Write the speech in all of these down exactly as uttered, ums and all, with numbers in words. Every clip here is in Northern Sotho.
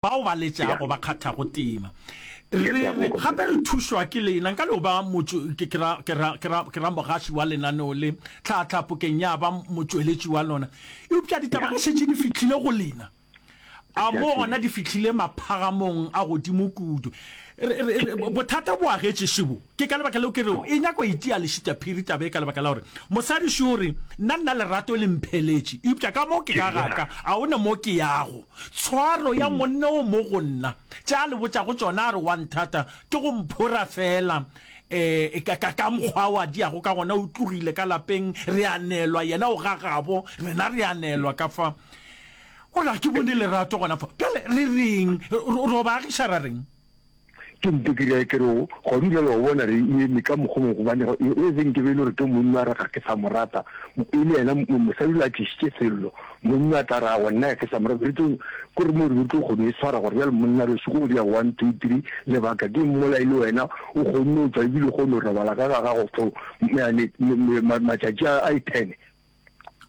Bao ba letšago ba kgathago tema. Re, re, gape re thušwa ke lena. Nka no ba motšwe, ke, ke ra, ke ra, ke ra, ke ra mogaši wa lenaneo le, tlhatlhapokeng ya ba motšweletši wa lona. Eupša ditaba ge šetše di fihlile go lena, a mo gona di fihlile maphagamong a godimo kudu. Re, re, re, bothata bo agetše šebo. Ke ka lebaka leo ke rego e nyaka go itia lešitaphiri taba ye, ka lebaka la gore mosadi šo o re, Nna, nna lerato le mpheletše, eupša ka mo ke ka ga ka, ga go na mo ke yago. Tshwaro ya monna o mo go nna, tše a le botšago tšona a re wa nthata, ke go mphora feela um ka, ka, ka mokgwa o a diago ka gona. O tlogile ka lapeng, re a neelwa, yena o ga gabo, rena re a neelwa ka fa. O re ga ke bone lerato gona fa. Bjale re reng? Ro, ro ba agiša ra reng? Ke nto ke re ke re gona bjale wa bona re eme ka mokgwa mongwe gobane e be nke be e le gore ke monna a re ga ke sa mo rata e le yena mosadi o a tlišitše sello monna a tla re aowa nna ga ke sa mo rata re tlo ko re mo re tlo kgone e swara gore bjale monna re soko dia one two three lebaka ke mmola e le wena o kgonne o tšwa ebile o kgone go robala ka ga gago for matšatši a e ten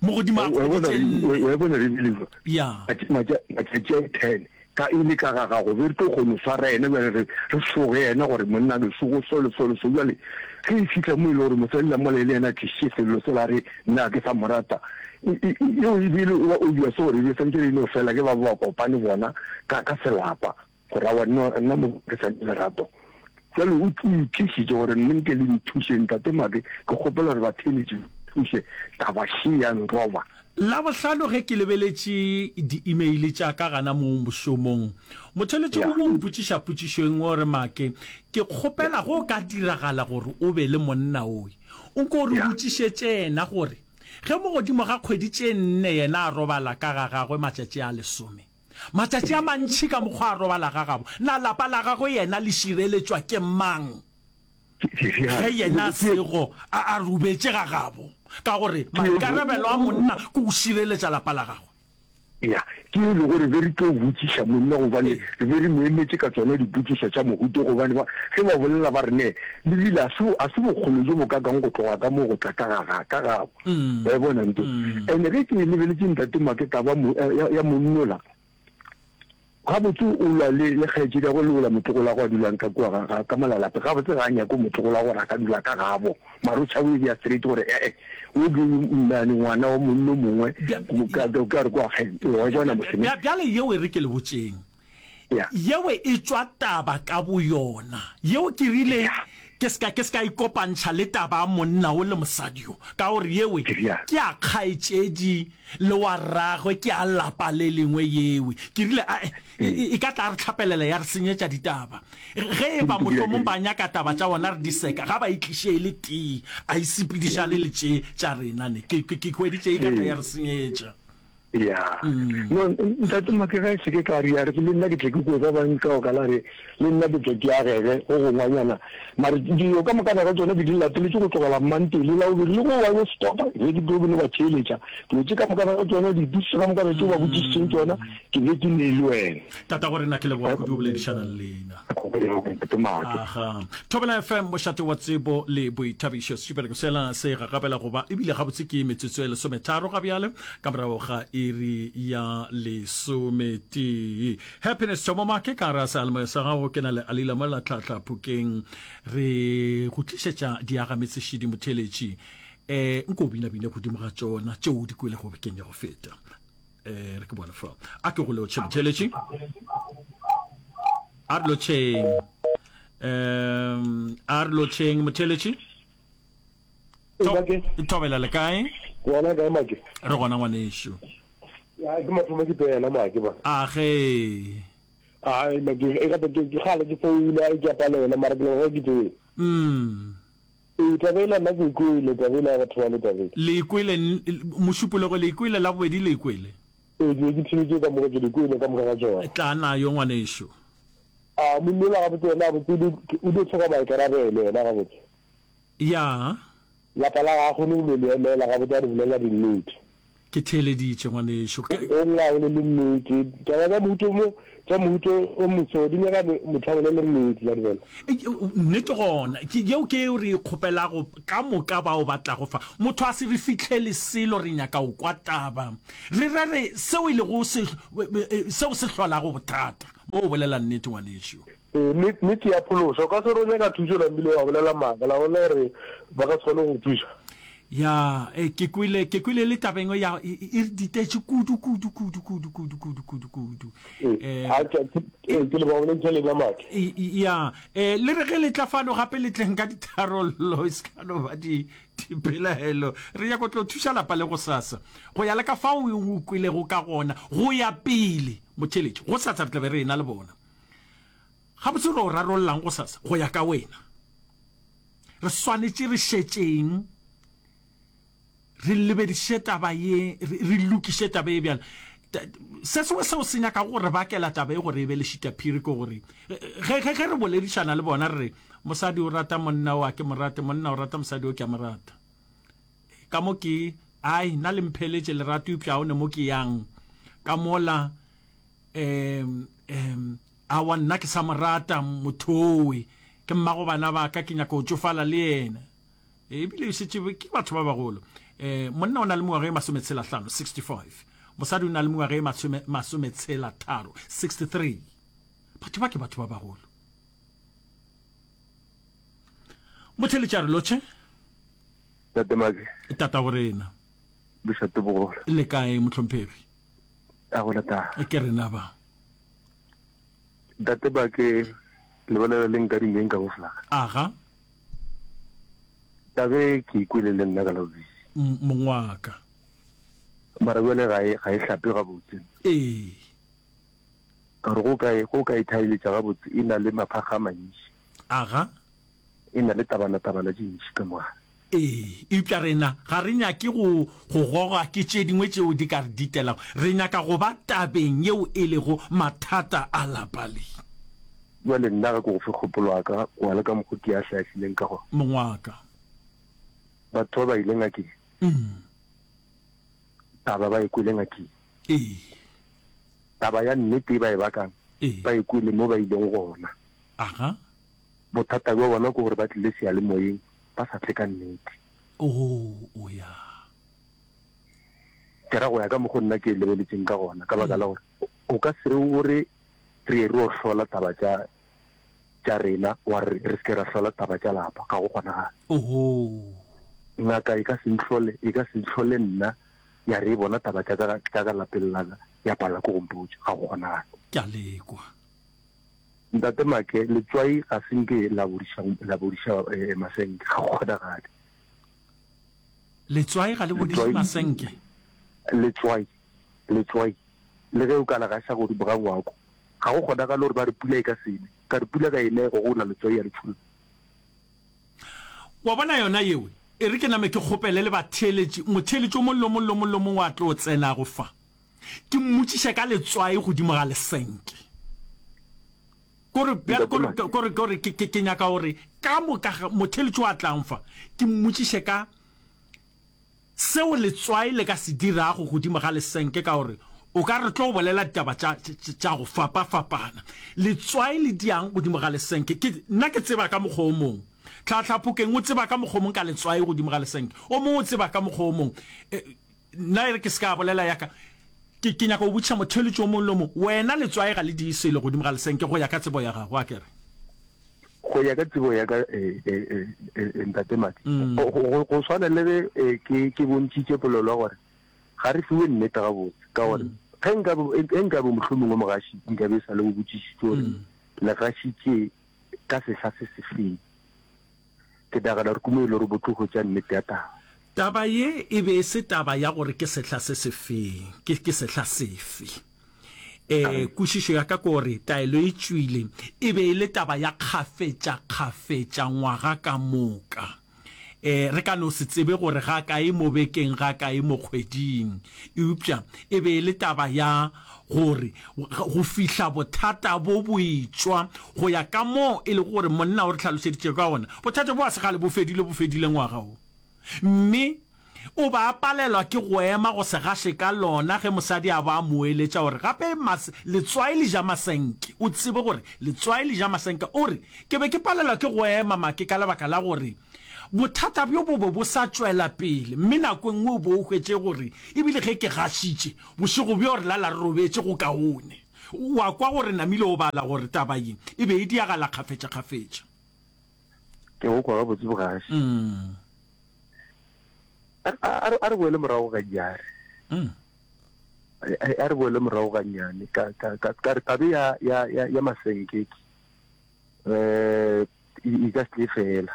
Mo godimo ga kgwedi tše nne. Wa e bona re bile Ya. Matšatši a ten ka e le ka ga gago, be re tlo kgona go swara yena bjale re re soge yena gore monna re sogo so le so le so. Bjale ge e fihla mo e le gore mosadi la mola e le yena a tlišitše sello sela a re nna ga ke sa mo rata, yeo e be e le obvious gore e be santše e no fela ke ba ba kopane bona ka ka selapa. Gore aowa nna, nna mo ke sa le lerato. Bjale o itlišitše gore nne nke le nthuše, Ntate Make, ke kgopela gore batheeletši ba nthuše, taba še ya nroba. Labohlano ge ke lebeletše di-email tša ka gana mo mošomong, motheeletši o mongwe o mpotšiša potšišo e nngwe o re, Make, ke kgopela ge o ka diragala gore o be le monna oe, o nko o re botšišetše yena gore ge mo godimo ga kgwedi tše nne yena a robala ka ga gagwe matšatši a lesome, Matšatši a mantši ka mokgwa a robala ga gabo, na lapa la gagwe yena le šireletšwa ke mang ge yena a sego a a robetše ga gabo? Ka gore maikarabelo a monna ke go šireletša lapa la gagwe. Ya, ke e le gore be re tlo botšiša monna gobane re be re mo emetše ka tsona dipotšišo tša mohuta gobane ba ge ba bolela ba re ne le bile a se a se bokgole bjo bo kakang go tloga ka mo go tla ka ga ga ka gabo. Wa e bona nto? Ene ge ke e lebeletše Ntate Make taba mo, ya, ya monnola, gabotse o lwa le, le kgaetšedi ya gwe le ola motlogolo wa gwe a dulang ka kua ga, ga, ka mola lape. Gabotse ga a nyake motlogolo wa gore a ka dula ka gabo. Mara o tšhaba o e bea straight gore e-e, o ke mmane ngwana wa monno mongwe, ka, ka, ka re kwa kgae, wa e bona moseme? Bjale yeo e re ke le botšeng. Yeo e tšwa taba ka boyona. Yeo ke rile ke se ka, ke se ka ikopantšha le taba ya monna wo le mosadi yo, ka gore yewe ke ya kgaetšedi le wa rragwe, ke ya lapa le lengwe yewe. Ke rile, Ae, e, e ka tla re hlapelela ya re senyetša ditaba. Ge e ba mohlomong ba nyaka taba tša bona re di seka, ga ba e tliše e le tee, a e sepedišane le tše tša rena ne. Ke, ke, ke hweditše e ka tla ya re senyetša. Ya. No, Ntate Make, ge se ke ka re, a re le nna ke tle ke kwe ba bang ka oka la re le nna ke tle ke agege go gongwanyana. Mare dilo ka mokana ga tsona ke di lateletše go tlogela Mmantele la bobedi le go wa yo stopa ge ke tlo no ba theeletša. Dilo tše ka mokana ga tsona, dipotšišo ka mokana tšeo ba botšišitšeng tsona, ke be ke ne le wena. Tatago rena, ke leboga kudu go boledišana le lena. Ntate Make. Aha. Thobela F M, mošate wa tsebo le boithabišo. Setšupereko sela se gagabela go ba ebile gabotse ke metsotso e lesometharo ga bjale. Ka morago ga iri ya lesometee. Happiness Thomo Make ka gare ga seyalemoya sa gago, ke na le Alila mola Tlhahla Phokeng re go tlišetša diagametsešidi motheeletši. Eh, nko o binabine godimo ga tšona tšeo o di kwelego bekeng ya go feta. Eh, re ke bone fa. A ke go lotšhe motheeletši. A re lotšheng. Um, a re lotšheng motheeletši. Thobela le kae? Gona kae Make? Re gona ngwanešu. Ya ke mathomo ke tsena Make ba. A ge. Ai Make e gape ke ke gale ke founa e ke a palela mara ke leboga ke tsene. Mm. Ee taba ela nna ke e kwele taba ela ya batho ba le taba ela. Le e kwele Mošupologo le e kwele Labobedi le e kwele? Ee ke be ke theletše ka moka ke di kwele ka moka ga tšona. Tla nayo ngwanešu. A monna yola gabotse yena gabotse o dio hloka maikarabelo yena gabotse. Ya. Lapa la ga a kgone go no le emela gabotse a re bolela dinnete. Ke theeleditše, ngwanešu. Ke. O lla a bolele nnete. Taba tša mohuta o mo, tša mohuta o moso di nyaka motho a bolele nnete, la di bona. Nnete gona. Ke, yeo ke yeo re e kgopelago ka moka bao ba tlago fa. Motho a se re fihlele selo, re nyaka go kwa taba. Re rere seo e lego se, seo se hlolago bothata. Mo o bolela nnete, ngwanešu. Ee, nnete ya phološa. O ka se re o nyaka thušo namile wa bolela maaka, la bona gore ba ka se kgone go go thuša. Ya, e, ke kwele, ke kwele le taba engwe ya, e, e re ditetše kudu, kudu, kudu, kudu, kudu, kudu, kudu, kudu. Ee, a, ke, ke, ee, ke leboga bolentšha lena Make. Ya, e, le re ge le tla fano gape le tleng ka ditharollo, e se ka no ba di, dipelaelo. Re nyaka go tlo thuša lapa le gosasa, go ya le ka fao o kwelego ka gona, go ya pele. Motheeletši, gosasa re tla be re ena le bona. Gabotse re o rarollang gosasa, go ya ka wena? Re swanetše re šetšeng, re lebediše taba ye, re, re lokiše taba ye bjale. Se sengwe seo se nyakago go re bakela taba ye gore e be lešitaphiri ke gore ge, ge, ge re boledišana le bona re re, mosadi o rata monna o a ke mo rate, monna o rata mosadi o ke a mo rata. Ka mo ke, ai, nna le mpheletše lerato eupša ga o ne mo ke yang. Ka mola, um, um, aowa nna ke sa mo rata mothowe, ke mmago bana ba ka, ke nyaka go tšofala le yena. Ebile e šetše ke batho ba bagolo. Um, monna o na le mengwaga e masometshela hlano, sixty-five, mosadi o na le mengwaga e masome, masometshela tharo, sixty-three. Batho ba ke batho ba bagolo. Motheletši a re lotšhe. Tate Make. Tata go rena. Bošate bogolo. Le kae mohlomphegi? A go lata. Ke rena ba. Tate Make, le bolela le nka dingeng ka boflaga. Aga. Tabe ke ikwele le nna ka la bobedi. Mong wa ka. Mara bjale ga e, ga e hlape gabotse. Ee. Ka gore go ka e, go ka e thaeletša gabotse e na le maphakga a mantši. Aga. E na le tabana-tabana tše ntši ka mogare. Ee, eupša rena ga re nyake go, go gogwa ke tše dingwe tšeo di ka re ditelago. Re nyaka go ba tabeng yeo e lego mathata a lapa le. Bjale nna ga ke go fe kgopolo ya ka go ya le ka mokgo ke a hlahlileng ka gona. Mong wa ka. Batho ba ba ile ngakeng. Mm. Taba ba e kwele ngakeng. Ee. Taba ya nnete e ba e bakang. Ee. Ba e kwele mo ba ileng gona. Aga. Bothata bja bona ke gore ba tlile seyalemoyeng ba sa tle ka nnete. Oh, o ya. Ke ra go ya ka mokgo nna ke e lebeletšeng ka gona, ka baka la gore o ka se re o re re ye re yo hlola taba tša tša rena, wa re re se ke ra hlola taba tša lapa, ga go kgonagale. Oho. Ngaka e ka se nhlole, e ka se nhlole nna ya re e bona taba tša ka tša ka lapeng la ka, ya palelwa ke go mpotša, ga go kgonagale. Ke a le kwa. Ntate Make, letswai ga se nke la bodiša, la bodiša eh, masenke, ga go kgonagale. Letswai ga le bodiše masenke? Letswai, letswai, le ge o ka le gaša godimo ga ngwako, ga go kgonagale gore ba re pula e ka se ne, ka re pula ka e ne go gola letswai ya le tšholla. Wa bona yona yeo? E re ke name ke kgopele le batheeletši, motheeletši o mong le o mong le o mong le o mongwe a tlo tsenago fa, ke mmotšiše ka letswai godimo ga lesenke. Kore, bjale, kore, kore, kore, ke, ke, ke nyaka gore ka moka ga motheeletši wa tlang fa, ke mmotšiše ka seo letswai le ka se dirago godimo ga lesenke, ka gore o ka re tlo bolela ditaba tša, tša, tša go fapafapana. Letswai le diang godimo ga lesenke? Ke, nna ke tseba ka mokgwa o mongwe. Tlhatlhaphokeng o tseba ka mokgwa o mongwe ka letswai godimo ga lesenke. O mongwe o tseba ka mokgwa o mongwe. E, nna e re ke se ka bolela ya ka. Ke, ke nyaka go botšiša motheeletši o mongwe le o mongwe, wena letswai ga le die selo godimo ga lesenke go ya ka tsebo ya gago, a ke re? Go ya ka tsebo ya ka, e, e, e, e, e, Ntate Madi, mm. go, go, go swana le ge e, ke, ke bontšhitše polelo ya gore ga re fiwe nnete gabotse, ka gore mm. ge nka be, ge nka be mohlomongwe mogaši nka be sa le o botšišitše gore mm. le gašitše ka sehla se sefeng. Ke nagana gore ke mo e le gore bo tlo hwetša nnete ya taba. Taba ye e be e se taba ya gore ke sehla se sefeng, ke, ke sehla sefe. E, kwešišo ya ka ke gore taelo e tšwile, e be e le taba ya kgafetšakgafetša ngwaga ka moka. E, re ka no se tsebe gore ga kae mo bekeng, ga kae mo kgweding, eupša e be e le taba ya gore go fihla bothata bo bo etšwa go ya ka moo e lego gore monna o re hlalošeditše ka gona, bothata bo a se kgale bo fedile, bo fedile ngwaga wo. Mme o ba a palelwa ke go ema go se gaše ka lona ge mosadi a ba a mo eletša gore gape mas, letswai le ja masenke. O tsebe gore letswai le ja masenke. O re, Ke be ke palelwa ke go ema Make ka lebaka la gore bothata bjo bo be bo sa tšwela pele mme nako e nngwe o be o hwetše gore ebile ge ke gašitše bošego bjo re lala re robetše go kaone. Wa kwa gore namile o bala gore taba ye e be e diagala kgafetšakgafetša. Ke go kwa gabotse bogaši. Mm. A, a, a re boele morago gannyane. Mm. A, a re boele morago gannyane ka, ka, ka, ka re tabe ya, ya, ya, ya masenkeke eh e, e ka se tle fela.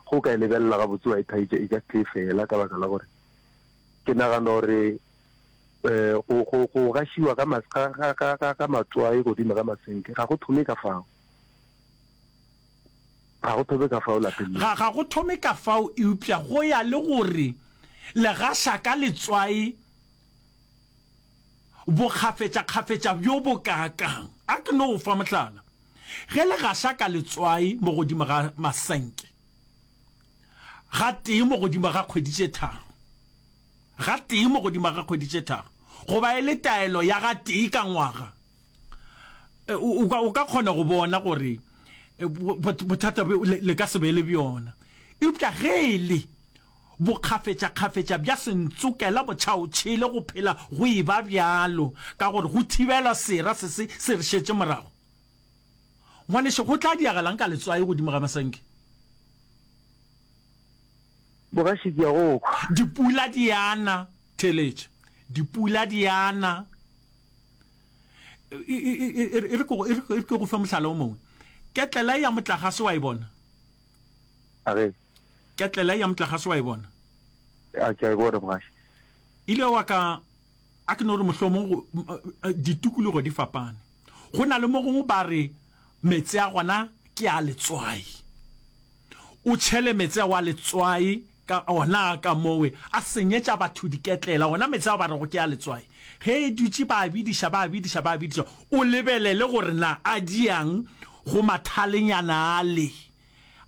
Go ka e lebelela gabotse wa e thaitša e ka se tle fela ka baka la gore ke nagana gore eh go go go gašiwa ga mas ga ga ga ga ga matswai godimo ga masenke ga go thome ka fao. Ga go thome ka fao lapeng le. Ga ga go thome ka fao eupša go ya le gore le gaša ka letswai bokgafetšakgafetša bjo bo kaakang. A ke no go fa mohlala. Ge le gaša ka letswai mo godimo ga masenke gatee mo godimo ga kgwedi tše tharo, gatee mo godimo ga kgwedi tše tharo, goba e le taelo ya gatee ka ngwaga, o, o ka, o ka kgona go bona gore bothata bjo le, le ka se be le bjona. Eupša ge e le bokgafetšakgafetša bja sentsokela motšhaotšhele go phela go e ba bjalo, ka gore go thibelwa sera se se se re šetše morago. Ngwanešu, go tla diagalang ka letswai godimo ga masenke? Bogaši ke a go kwa. Dipula di a na, theeletša. Dipula di a na. E, e, e, e, e re ke go, e re, e re ke go fe mohlala o mongwe. Ketlela ya motlagase wa e bona? A ge. Ketlela ya motlagase wa e bona? A ke a e bona, mogaši. Ile wa ka, a ke no re mohlomong go, ditikologo di fapane. Go na le mo gongwe ba re meetse a gona ke a letswai. O tšhele meetse ao a letswai ka ona ka mowe, a senyetša batho diketlela, ona meetse ao ba rego ke a letswai. Ge e dutše ba a bidiša, ba a bidiša, ba a bidiša, o lebelele gore na a diang go mathalenyana ale,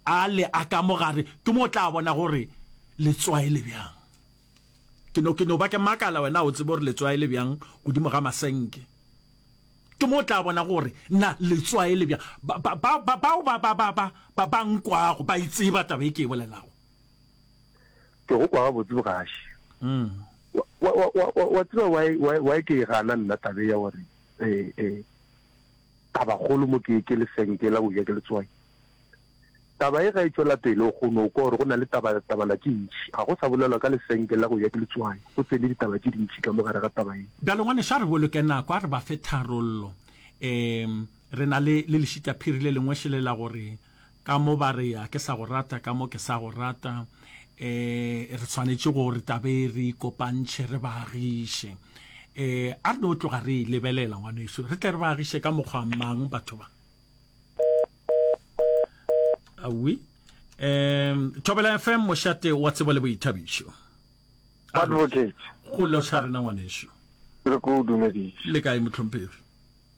ale a ka mo gare, ke mo o tla bona gore letswai le bjang. Ke no, ke no ba ke makala wena o tsebe gore letswai le bjang godimo ga masenke. Ke mo o tla bona gore na letswai le bjang. Ba, ba, ba, ba, bao ba, ba, ba, ba, ba, ba nkwago ba e tseba taba e ke e bolelago. Ke go kwa gabotse bogaši. Wa, wa, wa, wa, wa tseba why, why, why ke e gana nna tabe ya gore, eh, eh, tabakgolo mo ke, ke lesenke la go ja ke letswai. Taba e ga e tšwela pele o kgono kwa gore go na le taba, tabana tše ntši. Ga go sa bolelwa ka lesenke la go ja ke letswai, go tsene ditaba tše dintši ka mo gare ga taba ye. Bjalo ngwanešu a re boloke nako, a re ba fe tharollo. Um re na le, le lešitaphiri le lengwe šele la gore ka mo ba re a ke sa go rata, ka mo ke sa go rata. Um re swanetše gore taba e re ikopantšhe, re ba agiše. Um a re no tloga re e lebelela ngwanešu, re tle re ba agiše ka mokgwa mang batho ba. Awi. Um Thobela F M mošate wa tsebo le boithabišo. Advocate. Go loša rena ngwanešu. Re ko dumediše. Le kae mohlomphegi?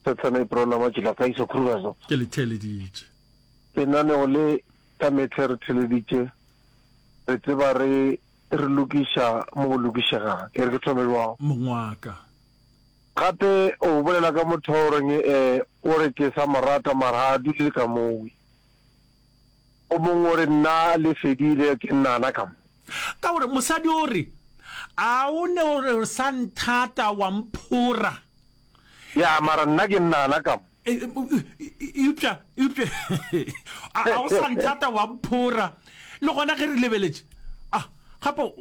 Thathana e prola matšila ka iso Krugersdorp. Ke le theeleditše. Lenaneo le ka mehla re theeleditše, re tseba re re lokiša mo go lokišegang. E re ke thome bjang? Mongwaka. Gape o bolela ka motho wa goreng eh, o re ke sa mo rata mara ga a dule le ka mowe. O mongwe o re nna le fedile ke nnana ka mo. Ka gore mosadi o re, A o ne o re o sa nthata wa mphora? Ya, mara nna ke nnana ka mo. Eupša, eupša, a o sa nthata wa mphora? Le gona ge re lebeletše, a gape o,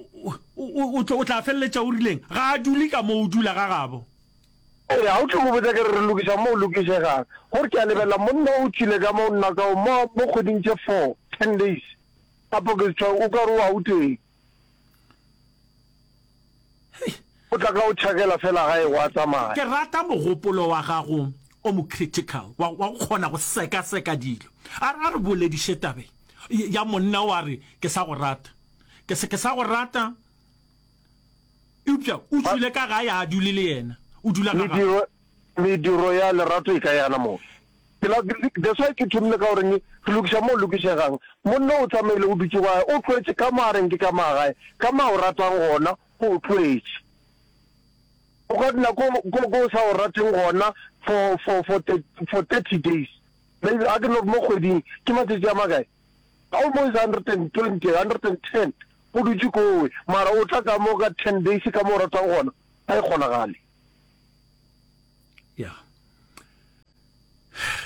o tla feleletša o rileng? Ga a dule ka mo, o dula ga gabo. Ee, ga o tlo mo botša ke re re lokiša mo o lokišegang. Gore ke a lebelela monna o tšwile ka mo nna ka mo mo kgweding tše four, ten days. Gape ke tšwa o ka re o Gauteng. O tla ka o tšhakela fela gae wa tsamaya. Ke rata mogopolo wa gago o mo critical wa wa go kgona go sekaseka dilo. A a re bolediše tabe ya monna o a re ke sa go rata. Ke se ke sa go rata eupša o tšwile ka gae a dule le yena. O dula ga gabo. Mediro mediro ya lerato e ka yana mo. Ke la that's why ke thomile ka goreng re lokiša mo lokišegang. Monna o tsamaile o dutše gae o tlwaetše ka mo a reng ke ka mo a gae ka mo a o ratang gona o tlwaetše. O ka dula ko ko ko o sa o rateng gona for for for for thirty days maybe a ke no re mo kgweding ke matšatši a makae? Almost hundred and twenty, hundred and ten o dutše kowe mara o tla ka mo ka ten days ka mo o ratang gona ga e kgonagale. Ya.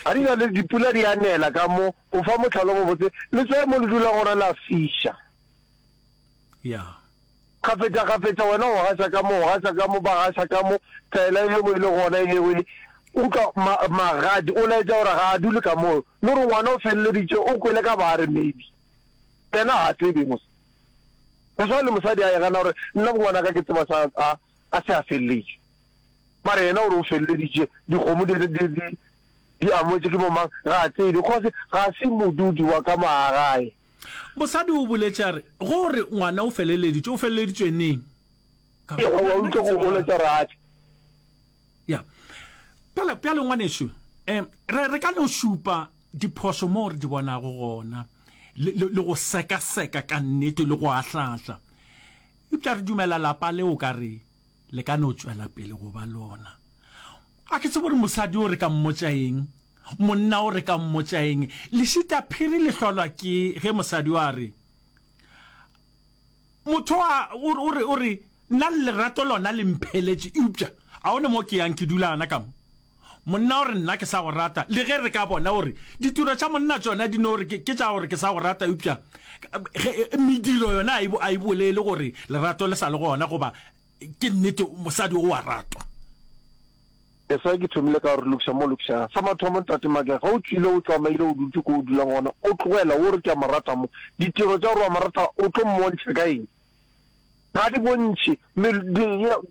Ga di na le dipula di a nela ka mo, o fa mohlala o mobotse, letswai mo le dulang gona la fiša. Ya. Kgafetša kgafetša wena o gaša ka mo, o gaša ka mo, ba gaša ka mo, taela e yengwe e le gona e yengwe e, utlwa ma, magadi, o laetša gore ga a dule ka moo, le gore ngwana o feleleditše o kwele ka bare maybe. Yena ga a tsebe mos. Go swana le mosadi a e gana gore nna bongwanaka ke tseba sa a, a se a feleletše. Mara yena o re o feleleditše, dikgomo di, di, di, di amogetše ke bomang, ga a tsebe, cause ga se modudi wa ka mo ga gae. Mosadi o boletše a re, Go re ngwana o feleleditšwe, o feleleditšwe neng? Ka re, Wa utlwa go goletša gore a tle. Ya. Bjale, bjale ngwanešu, um, re, re ka no šupa diphošo moo re di bonago gona, le, le, le go sekaseka ka nnete le go ahlaahla. Eupša re dumela lapa le o ka re le ka no tšwela pele go ba lona. A ke tsebe gore mosadi o re ka mmotša eng, monna o re ka mmotša eng. Lešita phiri le hlolwa ke ge mosadi o a re, Motho a, o, o re, o re, nna lerato lona le mpheletše, eupša a o ne mo ke yang ke dula gana ka mo. Monna o re, Nna ke sa go rata. Le ge re ka bona gore ditiro tša monna tšona di no re ke, ke tša gore ke sa go rata, eupša ge, mediro yona a e, a e bolele gore lerato le sa le gona goba ke nnete mosadi o a ratwa. That's why ke thomile ka gore lokiša mo lokiša. Sa mathomo Ntate Makega, ge o tšwile o tsamaile o dutše ko o dulang gona, o tlogela o re ke a mo rata mo, ditiro tša gore wa mo rata o tlo mmontšha ka eng? Ga di bontšhe.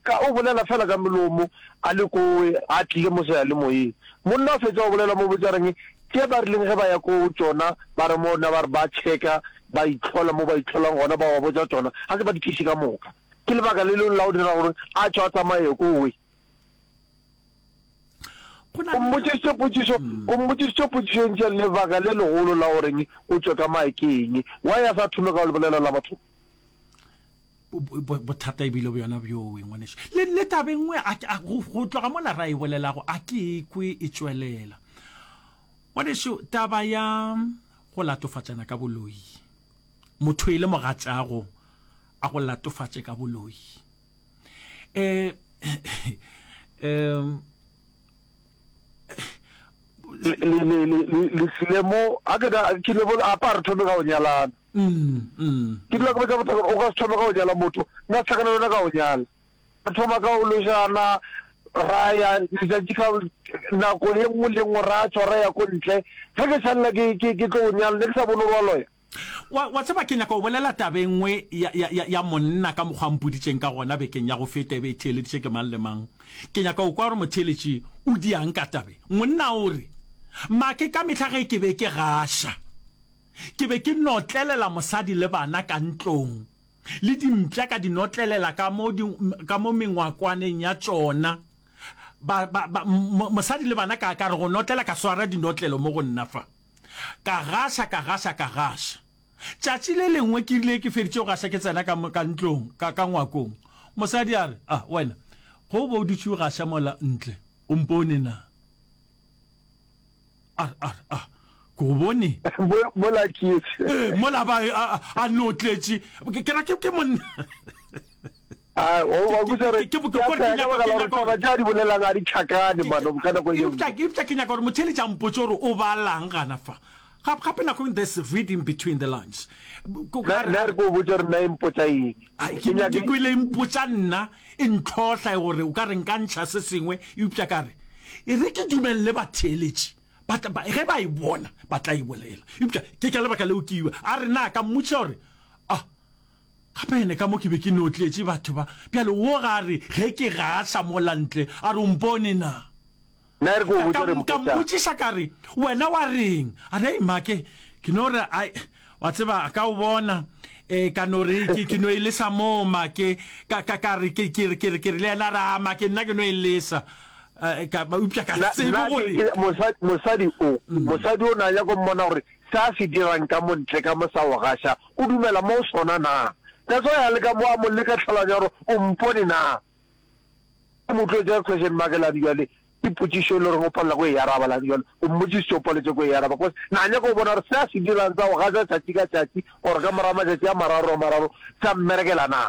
Ka o bolela fela ka melomo a le kowe a tlile mo seyalemoyeng. Monna o fetša go bolela mo botša reng tše ba rileng ge ba ya ko tšona ba re mo na ba re ba checka ba itlhola mo ba itlholang gona ba ba botša tšona ga se ba di tliše ka moka. Ke lebaka le lengwe la go dira gore a tšwe a tsamaye kowe. O mmotšišitše potšišo, o mmotšišitše potšišo e ntši lebaka le legolo la goreng o tšwe ka mae ke eng? Why a sa thome ka go le bolela la mathomo? Bothata e bile bjona bjowe, ngwanešu. Le, le taba e nngwe, a, a, go, go tloga mola ra e bolelago, a ke e kwe e tšwelela. Ngwanešu, taba ya go latofatšana ka boloi, motho e le mogatšago a go latofatše ka boloi. E, um, Le, le, le, le, le tlile mo, a ke da, ke le bone, apa re thome ka go nyalana. Ke dula ke botša batho gore o ka se thome ka go nyala motho, nna se hlakane le wena ka go nyala. Re thoma ka go lošana, ra ya letšatši ka nako ye nngwe le nngwe ra tšwa ra ya ko ntle. Ge ke šalela ke, ke, ke tlo go nyala, ne ke sa bone gore wa loya. Wa, wa tseba, ke nyaka go bolela taba e nngwe ya, ya, ya, ya monna ka mokgwa a mpoditšeng ka gona bekeng ya go feta, e be e theeleditše ke mang le mang. Ke nyaka go kwa gore motheeletši o diang ka tabe. Monna o re, Make, ka mehla ge ke be ke gaša, Ke be ke notlelela mosadi le bana ka ntlong, le dimpša ka di notlelela ka mo, di, ka mo mengwakwaneng ya tšona. Ba, ba, ba, mo, mosadi le bana ka, ka re go notlela, ka swara dinotlelo mo go nna fa. Ka gaša, ka gaša, ka gaša. Tšatši le lengwe ke rile ke feditše go gaša ke tsena ka, ka ntlong, ka, ka ngwakong. Mosadi a re, Ah, wena, ge o be o dutše o gaša mola ntle, o mpone na? A re, a re, a, ke go bone. Mola tletše. Ee, mola ba, a, a no tletše. Ke, ke ra ke, ke monna. A, o, wa botsa re, ke, ke, ke, ke nyaka gore taba tša di bolelang a di tlhakane, man, ka nako e Eupša, eupša ke nyaka gore motheeletši a mpotše gore o balang gana fa. Gape, gape nako e there's reading between the lines. Nna, nna re ke o botše gore nna e mpotša eng. Ke, ke kwele e mpotša nna, e ntlhohla gore o ka re nka ntšha se sengwe, eupša ka re, E re ke dumelele batheeletši ba tla, ba, ge ba e bona, ba tla e bolela. Eupša ke ka lebaka leo ke iwe. A re, Na ka mmotšiša gore, Ah, gape ene ka mo ke be ke no tletše batho ba. Bjale wo ga a re, ge ke gaša mola ntle, a re, O mpone na? Nna e re ke o botše gore mpotša. Ka mmotšiša ka re, Wena wa reng? A re, Hei, make, ke no re, ai, wa tseba, ka o bona, e, ka no re, ke, ke no e lesa moo, make. Ka, ka, ka re, ke, ke re, ke re, ke re le yena a re, A, make, nna ke no e lesa. Eh, ka, eupša ka Nna, tsebe nna ke, gore. ke, mosadi, mosadi o, mosadi o na nyaka go mmona gore se a se dirang ka mo ntle ka mo sa go gaša, o dumela mo go sona na? That's why a leka mo, a mo leka tlhaloganyo ya gore o mpone na? O mo tlotše ka question mark lane bjale, ke potšišo e le goreng o palela ko e araba lane bjale, o mmotšišitše o paletše ko e araba cause na nyaka go bona gore se a se dirang sa go gaša tšatši ka tšatši or ka morago matšatši a mararo a mararo sa mmerekela na?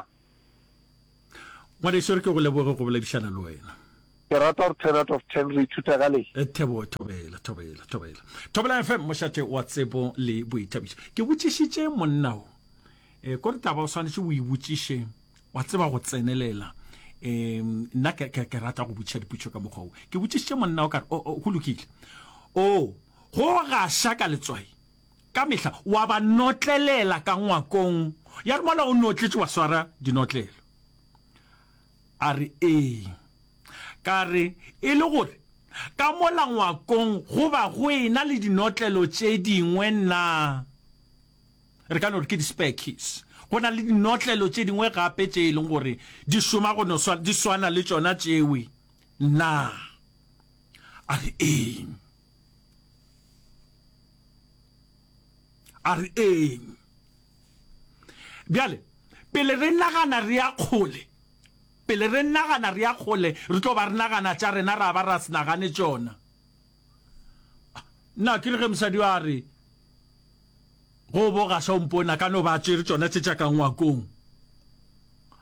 Ngwanešu, re ke go leboge go boledišana le wena. Ke rata gore ten out of ten re ithuta ka le. Thebo, thobela, thobela, thobela. Thobela F M, mošate wa tsebo le boithabišo. Ke botšišitše monna wo. E, kore taba o swanetše o e botšiše, wa tseba go tsenelela. E, nna ke, ke, ke rata go botšiša dipotšišo ka mokgwa wo. Ke botšišitše monna wo ka re, o, o, go lokile. O, go gaša ka letswai, ka mehla, wa ba notlelela ka ngwakong. Ya re mola o notletše wa swara dinotlelo. A re, Ee. Ka re, E le gore ka mola ngwakong go ba go ena le dinotlelo tše dingwe na? Re ka no re ke di-spare keys. Go na le dinotlelo tše dingwe gape tše e leng gore di šoma go no swana, di swana le tšona tšewe na? A re, Ee. A re, Ee. Bjale, pele re nagana re ya kgole, pele re nagana re ya kgole, re tlo ba re nagana tša rena ra ba ra se nagane tšona. Nna ke re ge mosadi yo a re, Go bo gaša o mpone, a ka no ba a tšere tšona tše tša ka ngwakong,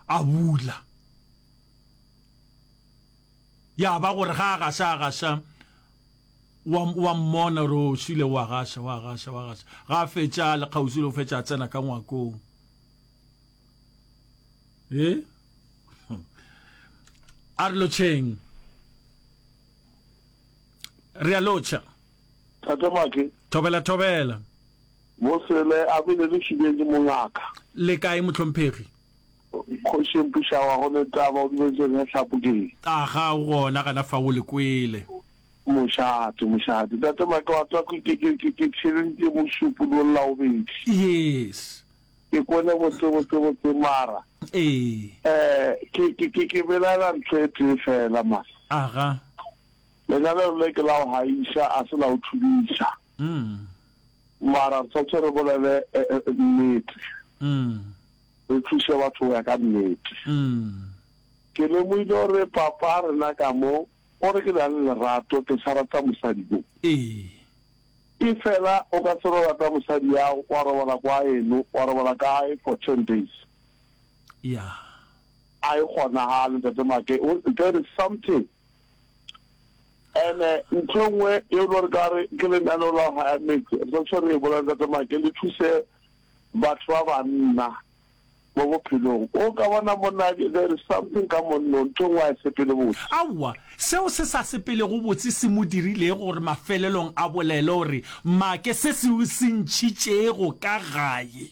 a bula. Ya ba gore ga a gaša, a gaša, wa, wa mmona gore o šile, wa gaša, wa gaša, wa gaša. Ga a fetša a le kgauswi le go fetša, a tsena ka ngwakong. E? A re lotšheng. Re a lotšha. Tate Make. Thobela, thobela. Bosele a bile le šibetše mongaka. Le kae mohlomphegi? Kgoši Mpušawa go ne taba o dumetse ge hlapo ke eng? Aga o gona gana fa o le kwele. Mošate, mošate. Tate Make wa tseba ke ke ke ke theleditše mošupologo Labobedi. Yes. Ke kwele botse botse botse mara. Ee. Eh ke ke ke ke belaela ntho e tee fela man. Aga. Lenaneo le ke la go haiša a se la go thubiša. Mm. Mara re tshwanetse re bolele nnete. Mm. Re thuše batho go ya ka nnete. Mm. Ke lemogile gore papa rena ka mo o re ke na le lerato ke sa rata mosadi yo. Ee. Efela o ka se no rata mosadi yago wa robala kwa eno wa robala ka gae for ten days. Yeah. A e kgonagale ntate Make. There is something. Ene ntho e nngwe ye e le gore ka re ke lenaneo la go haya metse, re tshwanetse re e bolele Ntate Make, le thuse batho ba banna mo bophelong. O ka bona monna, there is something ka monna o, ntho e nngwe ga e sepele botse. Aowa, seo se sa sepelego botse se mo dirilego gore mafelelong a bolele gore, Make, se se se ntšhitšego ka gae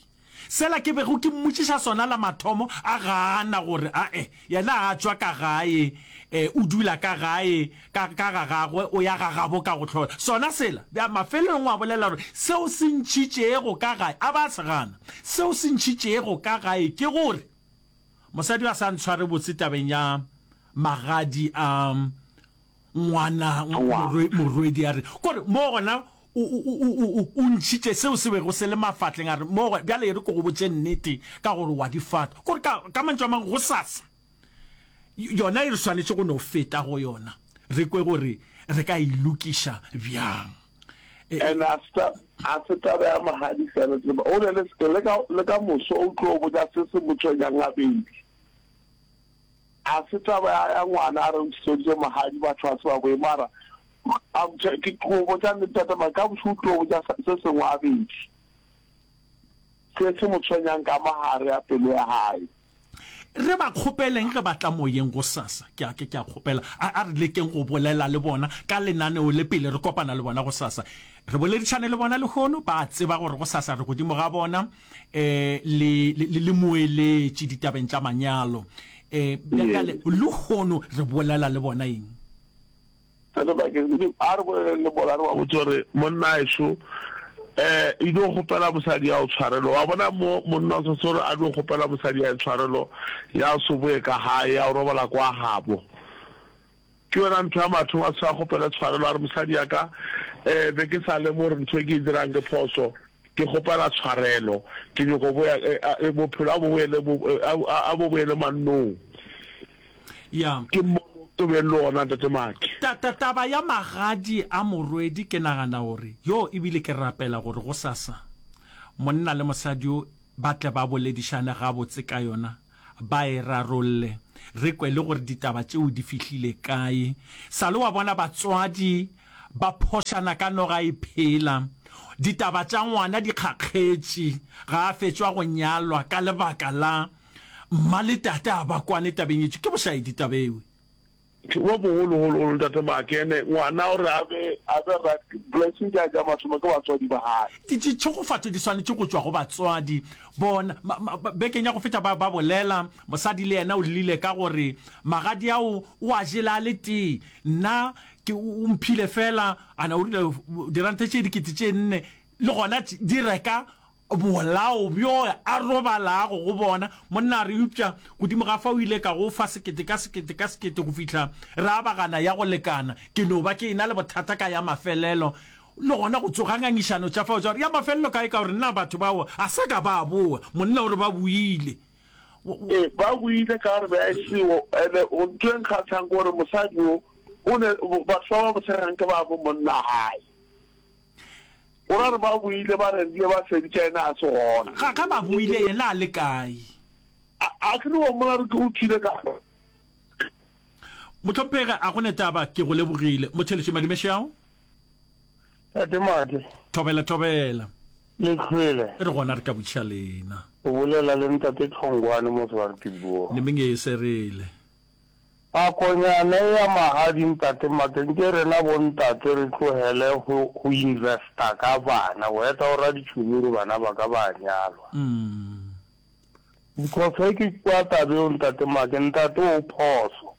Sela ke bego ke mmotšiša sona la mathomo, a gana gore ae, yena a tšwa ka gae, e, o dula ka gae, ka, ka ga gagwe, o ya ga gabo ka go hlola. Sona sela, bja, mafelelong wa bolela gore seo se ntšhitšego ka gae, a ba a se gana. Seo se ntšhitšego ka gae ke gore mosadi yo a sa ntshware botse tabeng ya magadi a ngwana, morwe, morwedi a re, kore mo gona o, o, o, o, o, o ntšhitše seo se bego se le mafatleng, a re, mo gona, bjale e re ke go botše nnete, ka gore wa di fata. Kore ka, ka mantšu a mangwe, gosasa, yona e re swanetše go no feta go yona, re kwe gore re ka e lokiša bjang. E, And a se ta, a se taba ya magadi fela, tseba, o ne le, le ka, le ka moso o tlo botša se se mo tshwenyang gabedi. A se taba ya, ya ngwana a re o ntšhitšeditše magadi batho ga se ba boe mara a botša ke go botša nnete tate mara ka bošego o tlo botša se sengwe gabedi se se mo tshwenyang ka mogare ya pelo ya gae. Re ba kgopeleng ge ba tla moyeng gosasa. Ke a, ke, ke a kgopela. A, a re lekeng go bolela le bona ka lenaneo le pele re kopana le bona gosasa. Re boledišane le bona lehono, ba a tseba gore gosasa re godimo ga bona, eh, le, le, le moeletši ditabeng tša manyalo. Eh, bjale, lehono re bolela le bona eng? Tate Bakeng, a re boleleng le bona, re ba botše gore, Monna ešo, eh, e dio kgopela mosadi ya go tshwarelo. Wa bona mo monna o swanetše gore a dio kgopela mosadi ya tshwarelo ya go se boye ka gae, ya go robala kwa gabo. Ke yona ntho ya mathomo a se a kgopele tshwarelo, a re, Mosadi ya ka, eh, be ke sa lemoge gore ntho e ke e dirang ke phoso. Ke kgopela tshwarelo. Ke nyoko boya, eh, eh, bophelo a bo boele, a, a bo boele mannong. Ya. Ke mmono o beng le ona, Ntate Maki. Ta, ta, taba ya magadi a morwedi, ke nagana gore, yo, ebile ke rapela gore gosasa monna le mosadi yo ba tle ba boledišane gabotse ka yona, ba e rarolle. re kwe le gore ditaba tšeo di fihlile kae. Sa le wa bona batswadi ba phošana ka noga e phela. Ditaba tša ngwana di kgakgetše, ga a fetšwa go nyalwa ka lebaka la mma le tate a ba kwane tabeng ye. Ke bošaedi taba ewe. Bo bogologologolo Ntate Makene, ngwana gore a be a be right, blessing tša tša mathomo ke batswadi ba gae. Di, ditšhegofatšo di swanetše go tšwa go batswadi. Bona, ma, ma, bekeng ya go feta ba, ba bolela, mosadi le yena o llile ka gore magadi ao o a jele a le tee, nna ke, o mphile feela, ana o rile diranta tše dikete tše nne, le gona di reka Bolao bjo a robalago go bona. Monna a re, Eupša godimo ga fa o ile ka go fa sekete ka sekete ka sekete go fihla re abagana ya go lekana. Ke no ba ke e-na le bothata ka ya mafelelo. Le gona go tsoga ngangišano tša fao tša gore ya mafelelo kae ka gore na batho bao a sa ka ba boa. Monna o re ba boile. Ee, ba boile ka gore be a e seo. Ene ntho e nkgahlang ke gore mosadi wo o ne, batho ba ba mo tshegang ke ba bo monna gae. O ra re ba boile ba rerile ba feditše yena a se gona. Ga ga ba boile yena a le kae? A a ke re wa mmona re ke o tšwile ka. Mohlomphegi a go ne taba ke go lebogile. Motheletši Madume Šeao. Tate Madi. Thobela thobela. Le hlwele. Re gona re ka botšiša lena. O bolela le Ntate Tlhongwane mo Swartboer. Nemeng e serele. Nakonyana ea magadi ntate Make nke rena bo ntate re tlohele go go investa ka bana go eta go ra ditšhomi gore bana ba ka ba nyalwa because ge ke kwa taba eo ntate Make ntate o phoso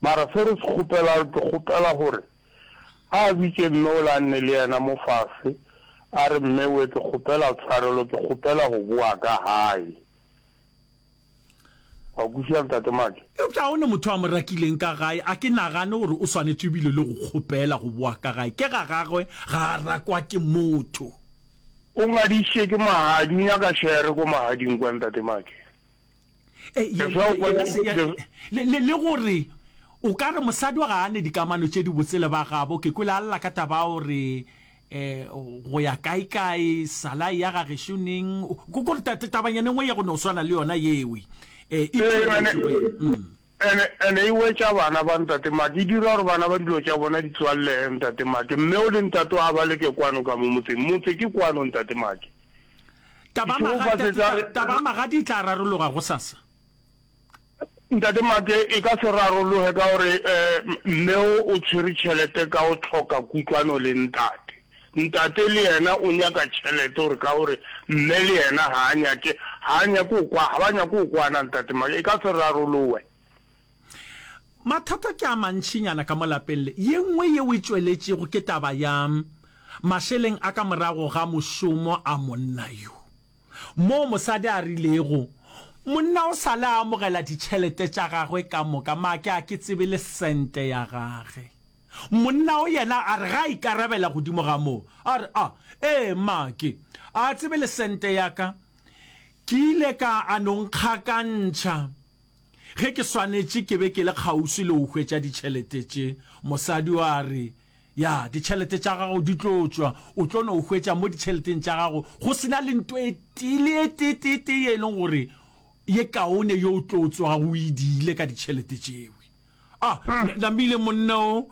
mara se re se kgopelago ke kgopela gore a bitše mme ola a nne le yena mo fase a re mme we ke kgopela tshwarelo ke kgopela go boa ka gae. Wa kwešiša Ntate Make? Eupša ga go ne motho a mo rakileng ka gae. A ke nagane gore o swanetše ebile le go kgopela go boa ka gae. Ke ga gagwe, ga a rakwa ke motho. O ngadišitše ke magadi, o nyaka shere ko magading kwa Ntate Make. Le, le, le gore o ka re mosadi wa ga a ne dikamano tše dibotse le ba gabo. Ke kwele a lla ka taba ya gore um go ya kaekae, sala ya ga gešo neng, ko gore tabanyana e nngwe ya go no swana le yona yewe. E Ene, ene e wetša bana ba Ntate Make, e dira gore bana ba dilo tša bona di tswallege, Ntate Make. Mme o le ntate wa ba leke kwano ka mo motseng. Motse ke kwano, Ntate Make. Taba ya magadi e tla rarologa gosasa. Ntate Make, e ka se rarologe ka gore mme o o tshwere tšhelete ka go hloka kutlwano le ntate. Ntate le yena o nyaka tšhelete gore ka gore mme le yena ga a nyake, ga a nyake go kwa, ga ba nyake go kwana Ntate Make, e ka se rarolowe. Mathata ke a mantšinyana ka mo lapeng le. Ye nngwe yeo e tšweletšego ke taba ya mašeleng a ka morago ga mošomo a monna yo. Moo mosadi a rilego, Monna o sa le a amogela ditšhelete tša gagwe ka moka, make a ke tsebe le sente ya gage. Monna o yena a re ge a ikarabela godimo ga moo, a re, A, ee, make a tsebe le sente ya ka. Ke ile ka a no nkgakantšha ge ke swanetše ke be ke le kgauswi le go hwetša ditšhelete tše. Mosadi o a re, Ya, ditšhelete tša gago di tlo tšwa. O tlo no hwetša mo ditšheleteng tša gago go se na le nto e tee le e tee tee tee ye e leng gore ye kaone yo o tlo tsogago o e diile ka ditšhelete tšewe. A, namile monna o,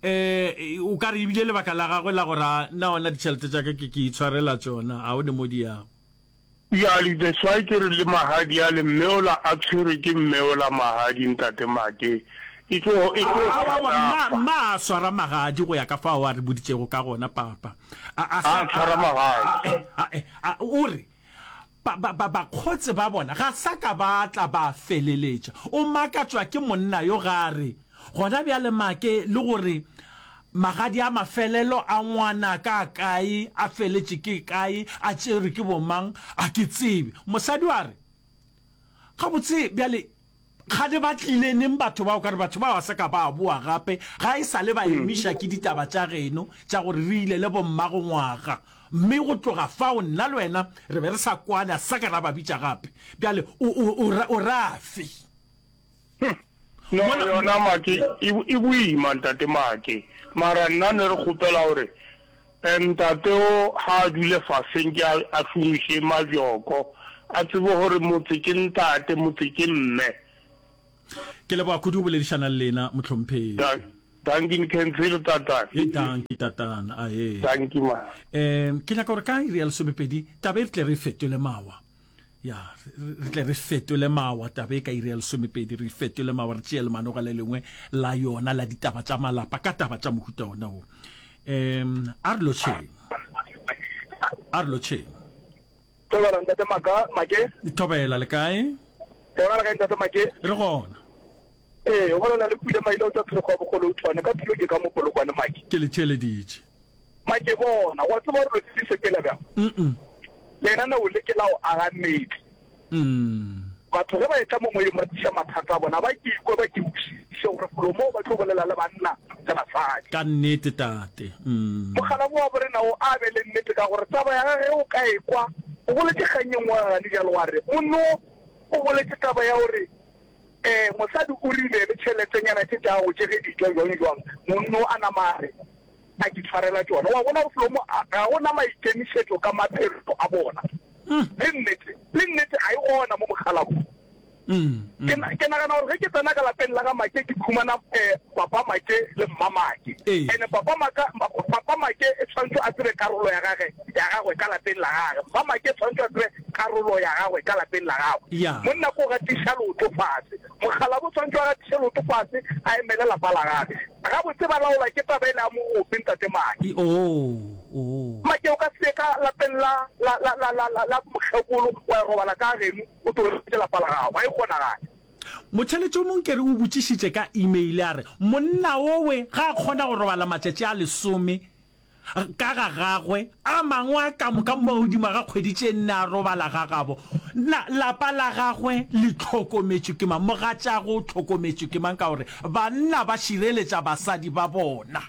eh, o ka re e bile lebaka la gagwe la gore a, nna gona ditšhelete tša ka ke, ke itshwarela tšona, ga o ne mo di yago. Bjale that's why ke re le magadi ale mme ola a tshwerwe ke mme ola magadi ntate Make e tlo e tlo Aowa mma mma a swara magadi go ya ka fao a re boditšego ka gona papa a a a tshwara magadi a a o re ba ba ba bakgotse ba bona ga sa ka ba tla ba feleletša o makatšwa ke monna yo ga a re Gona bjale make le gore magadi a mafelelo a ngwanaka a kae, a feletše ke kae, a tšerwe ke bomang, a ke tsebe. Mosadi a re, Gabotse bjale kgane ba tlile neng batho bao? Ka re batho bao ga sa ka ba boa gape, ga e sa le ba emiša ke ditaba tša geno tša gore re ile le bommago ngwaga. Mme go tloga fao nna le wena re be re sa kwane, a sa ka ra ba bitša gape. Bjale o, o, o, o rafe? No yona make e, e boima ntate make mara nna ne re kgopela gore eh, ntate o ga a dule faseng ke a, a šomiše mabjoko a tsebe gore motse ke ntate motse ke mme Ke leboga kudu go boledišana le lena, mohlomphegi. Dankie Nkhensile tatana. Ye dankie tatana, ae. Dankie ma. Um ke nyaka gore ka iri ya lesomepedi taba e re tle re e fetole mawa. Ya, re tle re fetole mawa taba e ka iri ya lesomepedi, re fetole mawa re tšee lemanoga le lengwe la yona la ditaba tša malapa ka taba tša mohuta ona wo. Um a re lotšheng. A re lotšheng. Thobela ntate Maka, Make. Thobela, le kae? Gona le kae ntate Make? Re gona. Ee, o bolela le Pule Maila o tšwa Pherekgo ya Bogolotšhwane ka tulo ke ka mo Polokwane Make. Ke le theeleditše. Make bona, wa tseba gore dilo di sepela bjang? Mm-mm. Lenaneo le ke la go aga metse. Mm. Batho ge ba etla mo moyeng ba tliša mathata a bona, ba ke ikwe ba ke kwešiše gore felo moo ba tlo bolela le banna le basadi. Ka nnete tate. Mm. Mokgalabje wa borena o a be le nnete ka gore taba ya gage ge o ka e kwa, o boletše kgang ye nngwe gane bjalo wa re monno o boletše taba ya gore um mosadi o rile le tšheletenyana tše tša gago tše ge di tšwa jwang jwang, monno a nama a re a ke tshwarela tšona. Wa bona gore felo mo ga go na maikemišetšo ka maphelo a bona. Le nnete, le nnete ga e gona mo mokgalabong. Ke, ke nagana gore ge ke tsena ka lapeng la ga Make ke khumana eh, Papa Make le Mma Make. Ene Papa Maka, Papa Make e tshwanetse a tsebe karolo ya gage, ya gagwe ka lapeng la gage. Mma Make e tshwanetse a tsebe karolo ya gagwe ka lapeng la gagwe. Monna ko gatiša leoto fase. Mokgalabo o tshwanetse a gatiše leoto fase a emele lapa la gage. Gabotse ba laolwa ke taba ele ya mogope Ntate Make. Make o ka se ye ka lapeng la, la, la, la, la, la, la mokgekolo wa ya robala ka geno o tlogetše lapa la gago. Ga e kgonagale. Motheeletši o mongwe ke re o botšišitše ka email a re, Monna owe ga a kgona go robala matšatši a lesome ka ga gagwe, a mangwe a ka moka mo godimo ga kgwedi tše nne a robala ga gabo, na lapa la gagwe le hlokometšwe ke mang? Mogatšagwe o hlokometšwe ke mang? Ka gore banna ba šireletša basadi ba bona.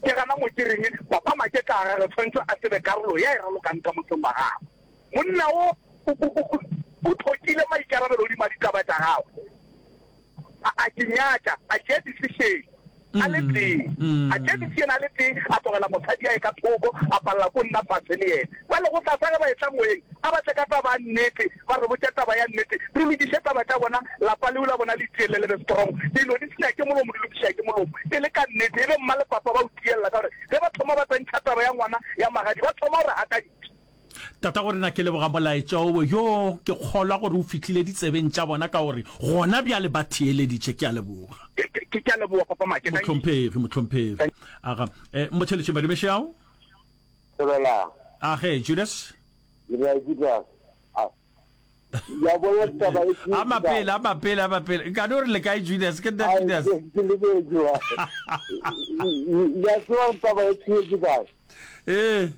Ke gana mo ke reng Papa Make ka gagwe tshwanetse a tsebe karolo ya e ralokang ka motseng wa gagwe. Monna wo o, o, o, o hlokile maikarabelo godimo a ditaba tša gagwe. A, a ke nyatša, a tšea decision a le tee. A tšea decision a le tee, a tlogela mosadi a ye ka thoko, a palela ko nna fase le yena. Bjale gosasa ge ba etla moyeng, a ba tle ka taba ya nnete, ba re botše taba ya nnete, re lokiše taba tša bona, lapa leo la bona le tielele le be strong. Dilo di senya ke molomo, di lokiša ke molomo. E le ka nnete, e be mma le papa ba o tielela ka gore ge ba thoma ba tsentšha taba ya ngwana ya magadi, ba thoma go re gakantšha. Tatagorena ke leboga molaetša owe yo ke kgolwa gore o fihlile ditsebeng tša bona ka gore gona bjale ba theeleditše. Ke a leboga. Ke, ke, ke a leboga Papa Make. Thank you. Mohlomphegi, mohlomphegi. Aga, eh, motheeletši Madumešeao. Thobela. Age, Judas. Le kae Judas? A, ya bona taba e A mapele, a mapele, a mapele. Nka no re le kae Judas, ke nna Judas. Ke lebetše wa. Ya tseba taba e tshwetše kae? Ee.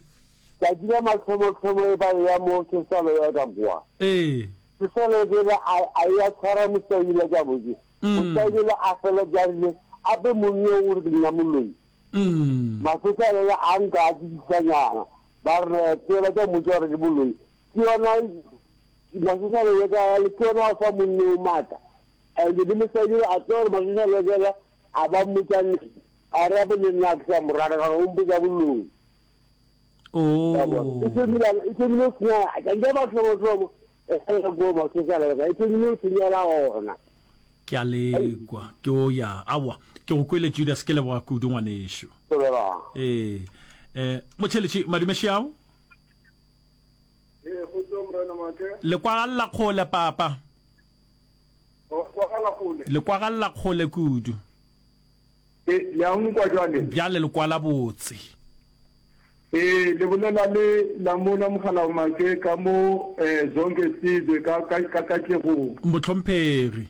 Tšatši la mathomothhomo e ba eya mo Sesalo ya ka kwa. Ee. Sesalo bjale a, a ya tshwara mosaila tša botse. Mosaila a fela tša rile, ape monna o re ke nna moloi. Masesalo le a nka a tsebisanyana. Ba re tsela tša mmotša gore ke moloi. Ke yona Masesalo ya ka le ke yona wa fa monna o maatla. And le mosadi a tseba gore Masesalo bjale a ba mmotša nnete. A re ape le nna ke sa mo rata ka gore o mpotša boloi. Oh. E thomile e thomile go senya ka ba tlhobo e sa go ma se sa e thomile go senyela gona. Ke a lekwa ke o ya awa ke go kwele Judas ke leboga kudu ngwanešu. Ee eh motšheletši madume šiao. Ee kgotso morena Make. Le kwagalla kgole papa. O kwagala kgole. Le kwagalla kgole kudu. E, le a nkwa jwale? Bjale le kwala botse. Ee, le bolela le Lamola Mogalaomake ka mo eh, Zonke Sizwe ka, ka, ka Katlegong. Mohlomphegi.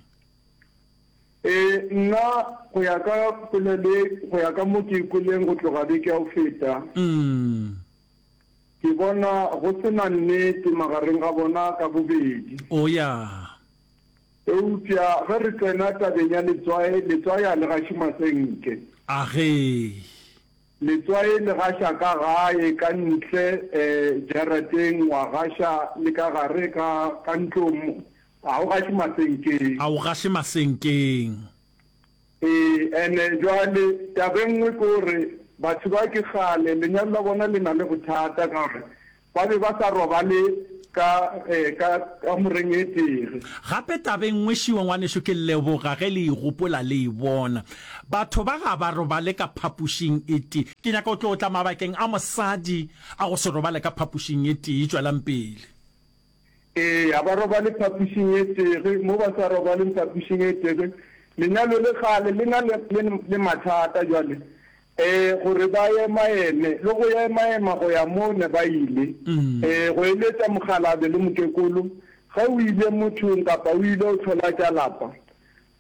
Ee, nna go ya ka polelo ye, go ya ka mo ke e kweleng go tloga beke ya go feta, Mm. ke bona go se na nnete magareng ga bona ka bobedi. O ya. Eupša ge re tsena tabeng ya letswai, letswai a le gaše masenke. Agee. Letswai le gaša ka gae, ka ntle jarateng, wa gaša le ka gare ka, ka ntlong, ga o gaše masenkeng. A o gaše masenkeng. Ee, ene jwale taba e nngwe ke gore batho ba ke kgale lenyalo la bona le na le bothata ka gore Ba be ba sa robale ka, ka kamoreng e tee. Gape taba e nngwe šiwa, ngwanešu, ke leboga ge le e gopola le e bona. Batho ba ga ba robale ka phapošing e tee. Ke nyaka go tlo tla mabakeng a mosadi a go se robale ka phapošing e tee. Tšwelang pele. Ee, ga ba robale phapošing e tee. Mo ba sa robaleng phapošing e tee, lenyalo le kgale le na le, le, le mathata bjale. Ee, gore ba emaeme, le go emaema go ya mo ne ba ile. Ee, go eletša mokgalabje le mokekolo, ge o ile mothong kapa o ile o hlola tša lapa,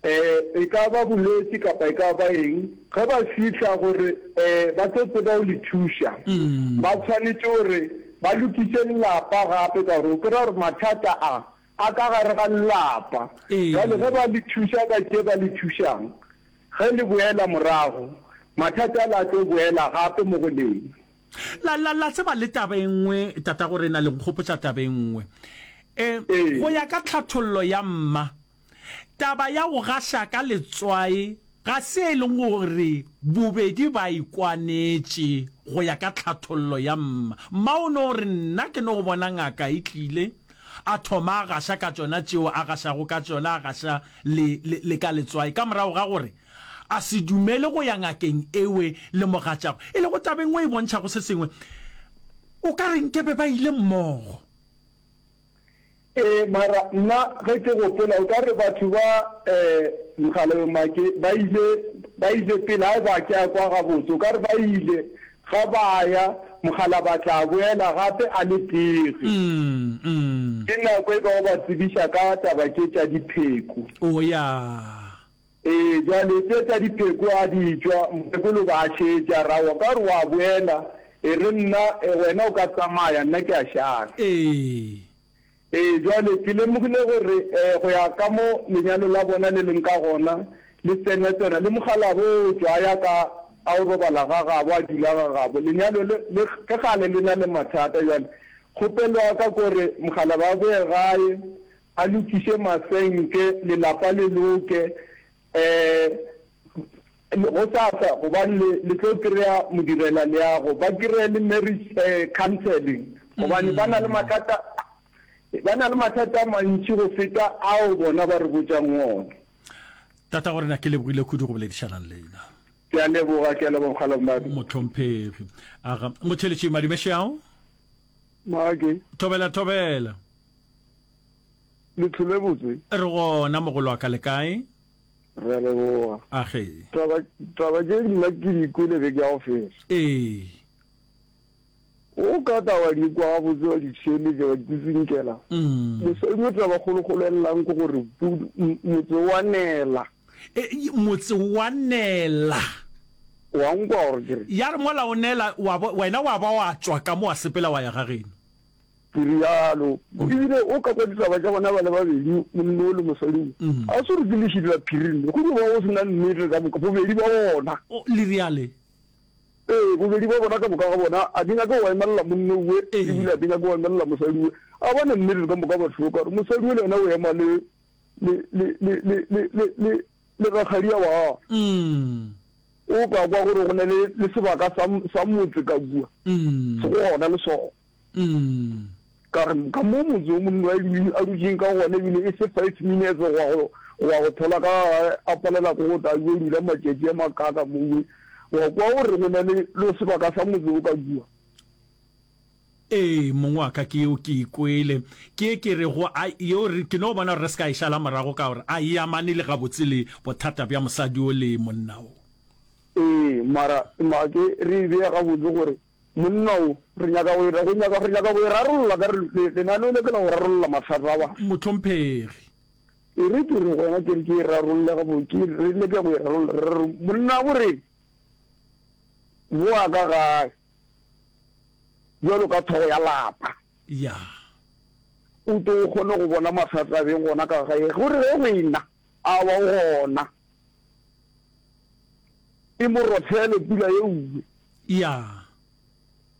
ee, e ka ba bolwetši kapa e ka ba eng, ge ba fihla gore, ee, ba tlo tseba go le thuša, ba tshwanetše gore ba lokiše lelapa gape, ka gore o kry-a gore mathata a, a ka gare ga lelapa. Bjale ge ba le thuša ka tše ba le thušang, Ge le boela morago, mathata ale a tlo boela gape mo go lena. La, la, la tseba le taba e nngwe, tatagorena, le nkgopotša taba e nngwe. E, go ya ka tlhathollo ya mma, taba ya go gaša ka letswai ga se e leng gore bobedi ba ikwanetše, go ya ka tlhathollo ya mma. Mma o no re, Nna ke no bona ngaka e tlile, a thoma a gaša ka tšona tšeo a gašago ka tšona, a gaša le, le, le ka letswai, ka morago ga gore a se dumele go ya ngakeng ewe le mogatšagwe, e lego taba e nngwe e bontšhago se sengwe. O ka re nkebe ba ile mmogo. Ee, mara nna ge ke gopola, o ka re batho ba um Mokgalabje Make ba ile, ba ile pele, ga e ba ke a kwa gabotse, o ka re ba ile Ga ba ya, mokgalabje a tla boela gape a le tege. Ke nako e ka go ba tsebiša ka taba tše tša dipheko. O ya. Ee, bjale tše tša dipheko a di tšwa, mokgekolo ba a šetša, ra wa ka gore wa boela, e re nna, wena o ka tsamaya, nna ke a šala. Ee. Ee, bjale ke lemogile gore go ya ka mo lenyalo la bona le leng ka gona, le tsena-tsena le mokgalabje o tšwa a ya ka a o robala ga gabo, a dula ga gabo. Lenyalo le, le ke kgale le na le mathata. Bjale kgopelo ya ka ke gore mokgalabje a boye gae, a lokiše masenke, lelapa le loke, um gosasa, gobane le, le tlo kry-a modirelaleago, ba kry-e le marriage counselling, gobane ba na le mathata, ba na le mathata a mantši go feta ao bona ba re botšang ona. Tatagorena, ke lebogile kudu go boledišana le lena. Ke a leboga, ke a leboga Mokgalabje. Mohlomphegi. Aga, Motheeletši Madumešeao. Maake. Thobela, thobela. Le tlhole botse. Re gona mogolo wa ka, le kae? Re a leboga. Age. Taba, taba tše nna ke di kwele beke ya go feta. Ee. O ka tla wa di kwa gabotse wa di theeletša wa di tsitsinkela. Mosadi o taba kgolokgolo e llang ke gore motse wa nela. E, motse wa nela. Wa nkwa gore ke re. Ya re mola o nela, wa bo, wena wa ba wa tšwa ka mo wa sepela wa ya ga geno. Ke realo. Ebile o ka kwa ditaba tša bona ba le babedi, monna o le mosadi o, a se gore ke lešidi la phiring, go dio ba go se na nnete ka moka, bobedi bja bona. O, le reale? Ee, bobedi bja bona ka moka ga bona, a di nyake go emelela monna owe, ebile a di nyake go emelela mosadi owe. A ba na nnete ka moka batho, ka gore mosadi o le yena o ema le, le, le, le, le, le, le, le, le rakgadia wa gagwe. O ka kwa gore go na le, le sebaka sa, sa motse ka kua, se go gona le sona. Ka re, ka mo motse o monna a a dutšeng ka gona ebile e se five minutes go ya go go ya go thola ka gae a palela ke go tla yo dula matšatši a makaaka mowe. Wa kwa o re go na le le sebaka sa motse o ka kua. Ee, mong wa ka, ke yeo ke e kwele. Ke ye ke rego a yeo re, ke no bona gore re se ka e šala morago ka gore a e amane le gabotse le bothata bja mosadi o le monna o. Ee, mara ma ke re e bea gabotse gore Monna o, re nyaka go e, go nyaka, re nyaka go e rarolla ka re, le, lenaneo le ke la go rarolla mathata a batho. Mohlomphegi. E re ke re gona ke re ke e rarolle gabo, ke, re leke go e rarolla. Re re, monna o re, boa ka gae, bjalo ka hlogo ya lapa. Ya. O tlo o kgone go bona mathata a beng gona ka gae. Gore ge go ena, a wa o gona. E mo rothele pula ye uwe. Ya.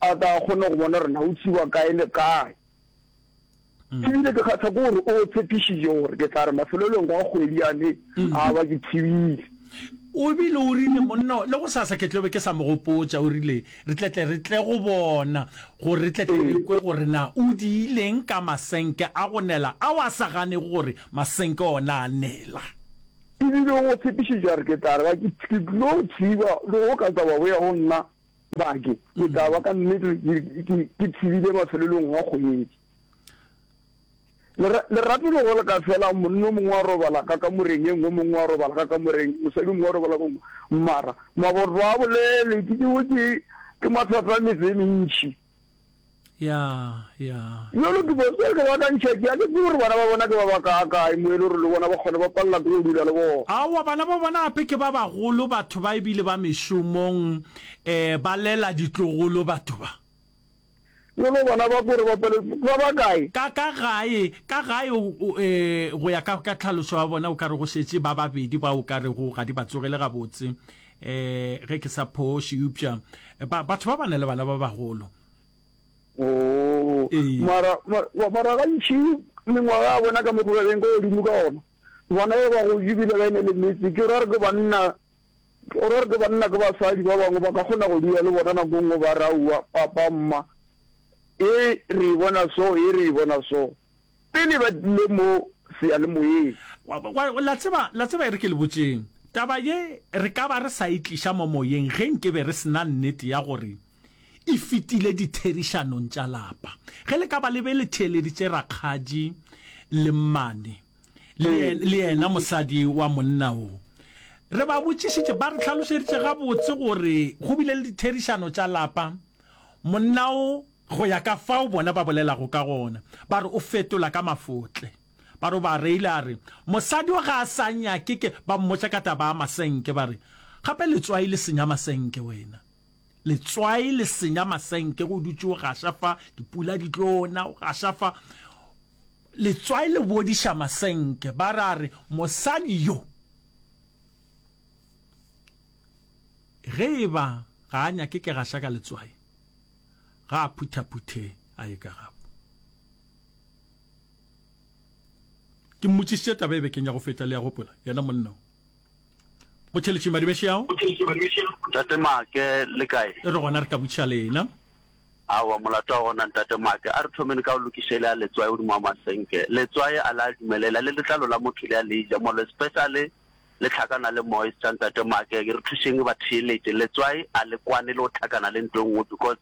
A tla kgone go bona gore na o tšiwa kae le kae. Ebile ke kgahla ke gore o tshepišitše gore ke tla re mafelelong a kgwedi yane a ba ke thibile. O bile o rile, Monna, le gosasa ke tlo be ke sa mo gopotša, o rile, re tle tle re tle go bona, gore re tle tle re kwe gore na o diileng ka masenke a go nela ao a sa ganego gore masenke ona a nela. E bile o tshepišitše a re, Ke tla re ba ke, ke tlo thiba, le go ka tla ba boya go nna, ba ke, ke tla ba ka nnete ke, ke, ke thibile mafelelong a kgwedi. Lera, lerato le go le ka fela, monna o mongwe wa robala ka kamoreng ye nngwe, o mongwe wa robala ka kamoreng, mosadi o mongwe wa robala ka nngwe. Mara, maboto a bolele, ke tšeo ke, ke mathata a metse e mentši. Ya, ya. Bjalo ke bo, bjalo ke ba ka ntšha ke, a ke tsebe gore bana ba bona ke ba bakaakae, mo e le gore le bona ba kgone ba palela ke go dula le bona. Aowa, bana ba bona gape ke ba bagolo, batho ba ebile ba mešomong, eh, ba lela ditlogolo batho ba. Bjalo bana ba kore ba pele ba ba kae? Ka, ka gae, ka gae, o, o, e, go ya ka, ka tlhaloso ya bona o ka re go šetše ba babedi ba o ka rego ga di ba tsogele gabotse, e, ge ke sa phoše, eupša ba, batho ba ba na le bana ba bagolo. Oo, Ee. mara, mara, mara gantši mengwaga ya bona ka mokgwa ba beng ka godimo ka gona, bona ba ba gotše ebile ba ene le metse, ke ra gore ke banna, O ra gore ke banna ke basadi ba bangwe ba ka kgona go dula le bona nako nngwe ba re aowa papa mma e re e bona so e re e bona so pele ba tlile mo seyalemoyeng. Wa, wa, la tseba, la tseba e re ke le botšeng, taba ye re ka ba re sa e tliša mo moyeng ge nke be re se na nnete ya gore e fetile ditherišanong tša lapa. Ge le ka ba le be le theeleditše rakgadi le mmane, le, le yena mosadi wa monna wo. Re ba botšišitše, ba re hlalošeditše gabotse gore go bile le ditherišano tša lapa. Monna wo, go ya ka fao bona ba bolelago ka gona, ba re o fetola ka mafotle. Ba re o ba reile a re, Mosadi wo ga a sa nyake ke, ba mmotša ka taba ya masenke, ba re, Gape letswai le senya masenke wena. Letswai le senya masenke, go dutše o gaša fa, dipula di tlo na, o gaša fa. Letswai le bodiša masenke, ba re a re, Mosadi yo, ge e ba ga a nyake ke gaša ka letswai, ga a phuthaphuthe a ye ka gabo. Ke mmotšišitše taba e bekeng ya go feta, le a gopola, yena monna o. Motšheletši Madibešeao. Ntate Make, le kae? Re gona, re ka botšiša lena. Aowa, molato wa gona, Ntate Make. A re thomeng ka go lokiša ele ya letswai godimo ga masenke. Letswai a le a dumelela, le letlalo la motho le a le ja, molo especially le hlakana le moisture, Ntate Make. Re thušeng batheeletše, letswai a le kwane le go hlakana le nto e nngwe because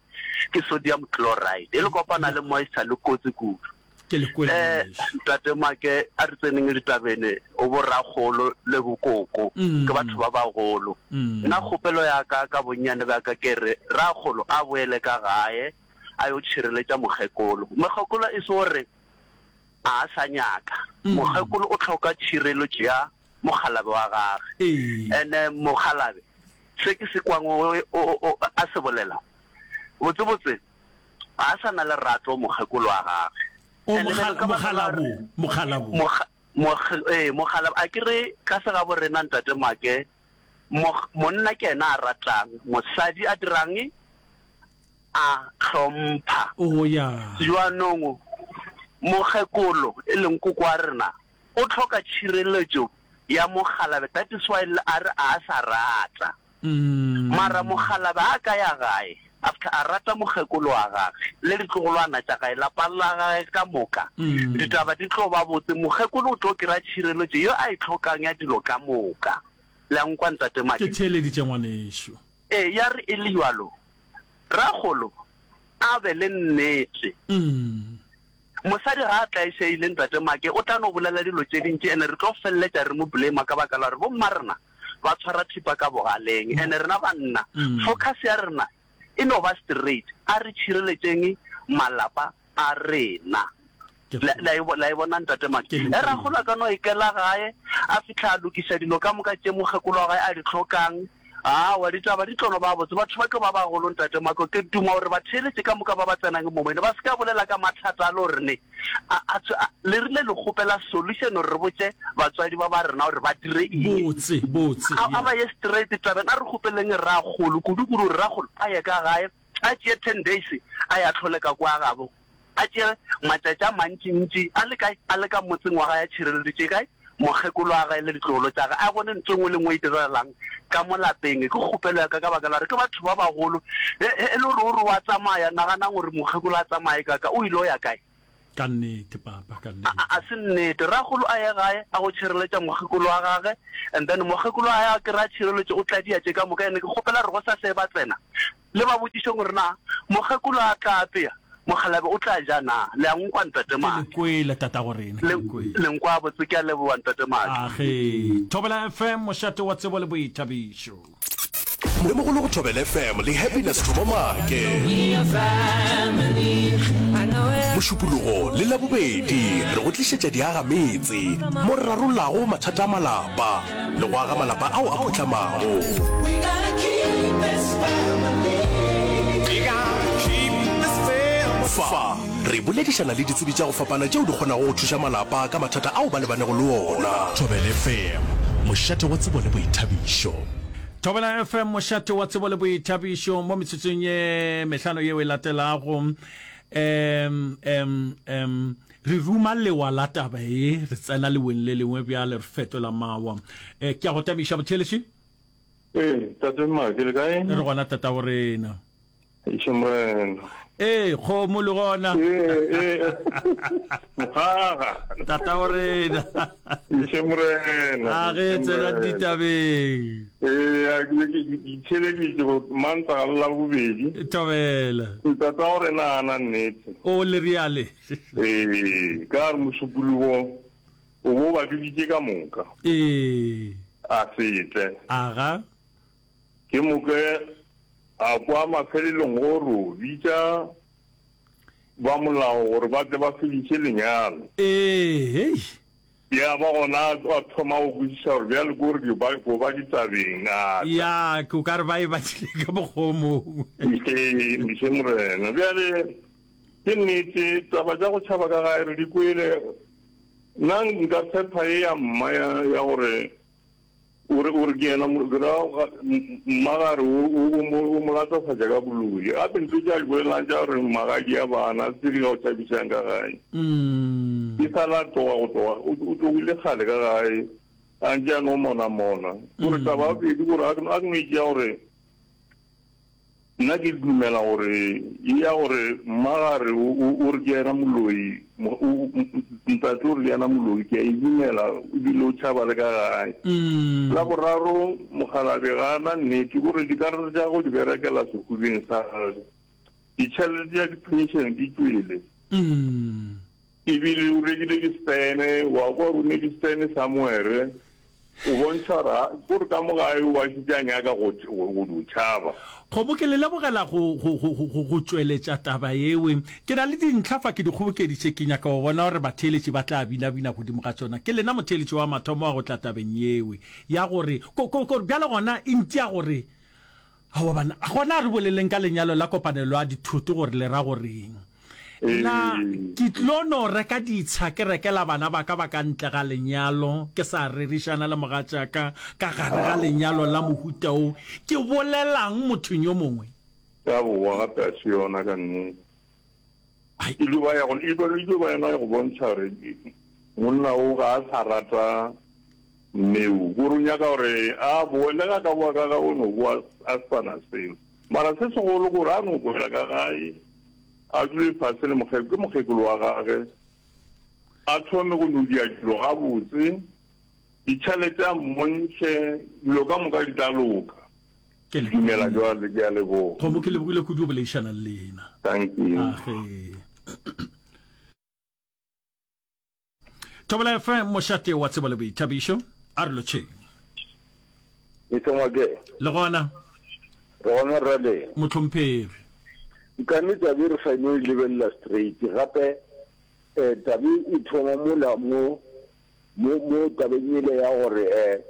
ke sodium chloride. E le kopana le moisture le kotsi kudu. Ke le kwele Eh, ngwanešu. Ntate Make, a re tseneng ditabeng, o bo rakgolo le bokoko, ke batho ba bagolo. Nna kgopelo ya ka ka bonnyane bja ka ke re, rakgolo a boele ka gae a yo tšhireletša mokgekolo. Mokgekolo e se gore a sa nyaka, mokgekolo o hloka tšhireletšo ya mokgalabe wa gage. Ene mokgalabe, se ke se kwang o, o, o, a se bolela, botsebotse, Ga a sa na lerato mokgekolo wa gage. O And then ka baka la mokgalabo, mokgalabo. Mokga, mokg, ee, mokgalabo. A ke re ka segabo rena Ntate Make, mok, monna ke yena a ratang, mosadi a dirang? A hlompha. O ya. Jwanong mokgekolo e leng koko wa rena o hloka tšhireletšo ya mokgalabe, that is why a re a sa rata. Mara mokgalabje a ka ya gae after a rata mokgekolo wa gage le ditlogolwana tša gae, lapa la gage ka moka, ditaba di tlo ba botse. Mokgekolo o tlo kry-a tšhireletšo ye a e hlokang ya dilo ka moka. Le a nkwa, Ntate Madi? Ke theeleditše, ngwanešu. Ee, ya re e le bjalo, rakgolo a be le nnete. Mosadi ga a tlaišegile Ntate Make o tla no bolela dilo tše dintši ene re tlo feleletša re mo blame ka baka la gore bomma rena ba tshwara thipa ka bogaleng ene rena banna focus ya rena e no ba straight a re tšhireletšeng malapa a rena. La, la e, la e bona Ntate Make? E rakgolo a ka no ikela gae a fihla a lokiša dilo ka moka tše mokgekolo wa gae a di hlokang. Aowa, ditaba di tlo no ba botse. Batho ba tlo ba bagolo, Ntate Mako. Ke duma gore batheeletši ka moka ba ba tsenang mo moyeng ba se ka bolela ka mathata a le gore ne a, a, a, le rile le kgopela solution gore re botše batswadi ba ba rena gore ba dire eng. Botse, botse, A, a yeah. ba ye straight tabeng. A re kgopeleng rakgolo, kudu-kudu gore rakgolo a ye ka gae, a tšee ten days a ye a hlole ka kwa gabo. A tšee matšatši a mantši-ntši a le kae? A le ka motseng wa gae a tšhireleditše kae? mokgekolo wa gae le ditlogolo tša gage, a bone ntho e nngwe le nngwe e diragalang ka mo lapeng. Ke kgopelo ya ka ka baka la gore ke batho ba bagolo. Ge e le gore o re o a tsamaya, naganang gore mokgekolo a tsamaye ka ka, o ile o ya kae? Ka nnete, papa, ka nnete. A, a se nnete. Rakgolo a ye gae a go tšhireletša mokgekolo wa gage, and then mokgekolo wa gae a kry-a tšhireletšo, o tla dia tše ka moka. And ke kgopela gore gosasa ge ba tsena, le ba botšišeng gore na mokgekolo a tla apea, mokgalabje o tla ja na. Le a nkwa, Ntate Ke le Make? kwele, tatago rena, ke Le, le kwele. le nkwa botse. Ke a leboga, Ntate Make. Age. Thobela F M, mošate wa tsebo le boithabišo. Mogolo go Thobela F M le Happiness Thomo Maake. Mošupologo le Labobedi re go tlišetša diagametse mo re rarollago mathata a malapa le go aga malapa ao a phuhlamago. Fa re boledišana le ditsebi tša go fapana tšeo di kgonago go thuša malapa ka mathata ao ba lebanego le ona. Thobela F M, mošate wa tsebo le boithabišo. Thobela F M, mošate wa tsebo le boithabišo, mo metsotsong ye mehlano yeo e latelago, um, um, um, re ruma lewa la taba ye, re tsena leweng le lengwe bjale, re fetola mawa. Eh, ke a go tamiša, botheeletši. Ee, tate Mmake, le kae? Re gona, tatago rena. Eiše Morena. Ee, kgomo le gona. Ee, ee. Mogaga. Tatago rena. Eiše Morena. A ge tsena ditabeng. Ee, a ke ke itheleditše go Mantaga le Labobedi. Thobela. Tatago rena a na nnete. O le riale. Ee, ka re Mošupologo o bo ba biditše ka moka. Ee. A se tle. Aga. Ke moka a kwa mafelelong go ro bitša ba molao gore ba tle ba fediše lenyalo. Ee, hei. Ya ba gona a thoma go kwešiša gore bjale ke gore ke ba, ko ba ditabeng, a tla. Ya, ke o ka re ba e badile ka mokgwa o mongwe. Ee, Mše Morena. Bjale, ke nnete, taba tša go tšhaba ka gae re di kwele. Nna nka tshepa ye ya mma ya, ya gore O re, o re ke yena, ke ra mmagare o, o, o mo, o mo latofatša ka boloi. Gape ntho tše a di bolelang tša gore magadi a bana, tse di ka go tšhabišang ka gae. E sa la tloga go tloga, o, o tlogile kgale ka gae, a ntše a no monamona. Gore taba ya bobedi gore a ke, a ke no e tšea gore, Nna ke dumela gore ye ya gore mmagare o, o, o re ke yena moloi, mo, o, ntate o re ke yena moloi, ke a e dumela, ebile o tšhaba le ka gae. La boraro, mokgalabje ga a na nnete, ke gore dikarata tša gagwe di berekela sehubeng sa gagwe. Ditšhelete tša di-pension di tšwele. Ebile o rekile di-stand, wa kwa gore o ne di-stand somewhere. O bontšha gore ga, gore ka mo gae o ba šetše a nyaka go, go, go dio tšhaba. Kgomo, ke le lebogela go, go, go, go, go, go tšweletša taba yewe. Ke na le dintlha fa ke di kgobokeditše, ke nyaka go bona gore batheeletši ba tla binabina godimo ga tšona. Ke lena motheeletši wa mathomo wa go tla tabeng yewe, ya gore, ko, ko, ko, bjale gona e ntia gore, Aowa banna, gona a re boleleng ka lenyalo la kopanelo ya dithoto gore le ra goreng. Na ke tlo no reka ditsha ke rekela bana ba ka ba ka ntle ga lenyalo ke sa rerišana le mogatšaka ka gare ga lenyalo la mohuta wo? Ke bolelang mothong yo mongwe? Ya bowa gape a se yona ka nnete. E tlo ba ya go, e tlo ba yona ya go bontšha gore monna o ga a sa rata mme o. Kore o nyaka gore a boe, le ga ka boa ka gae o no boa a sa na selo. Mara se segolo ke gore a no boela ka gae, a dule fase le mokgekolo, ke mokgekolo wa gage, a thome go no dia dilo gabotse, ditšhelete a mmontšhe, dilo ka moka di tla loka. Ke Ke dumela jwale, ke a leboga. Kgomo, ke lebogile kudu go boledišana le lena. Thank you. Age. Thobela F M, mošate wa tsebo le boithabišo. A re lotšheng. Mister Ngwake. Le gona. Re gona rra le. Mohlomphegi. Nkane tabe re sa no e lebelela straight gape eh, tabe e thoma mola mo mo mo tabeng ele ya gore eh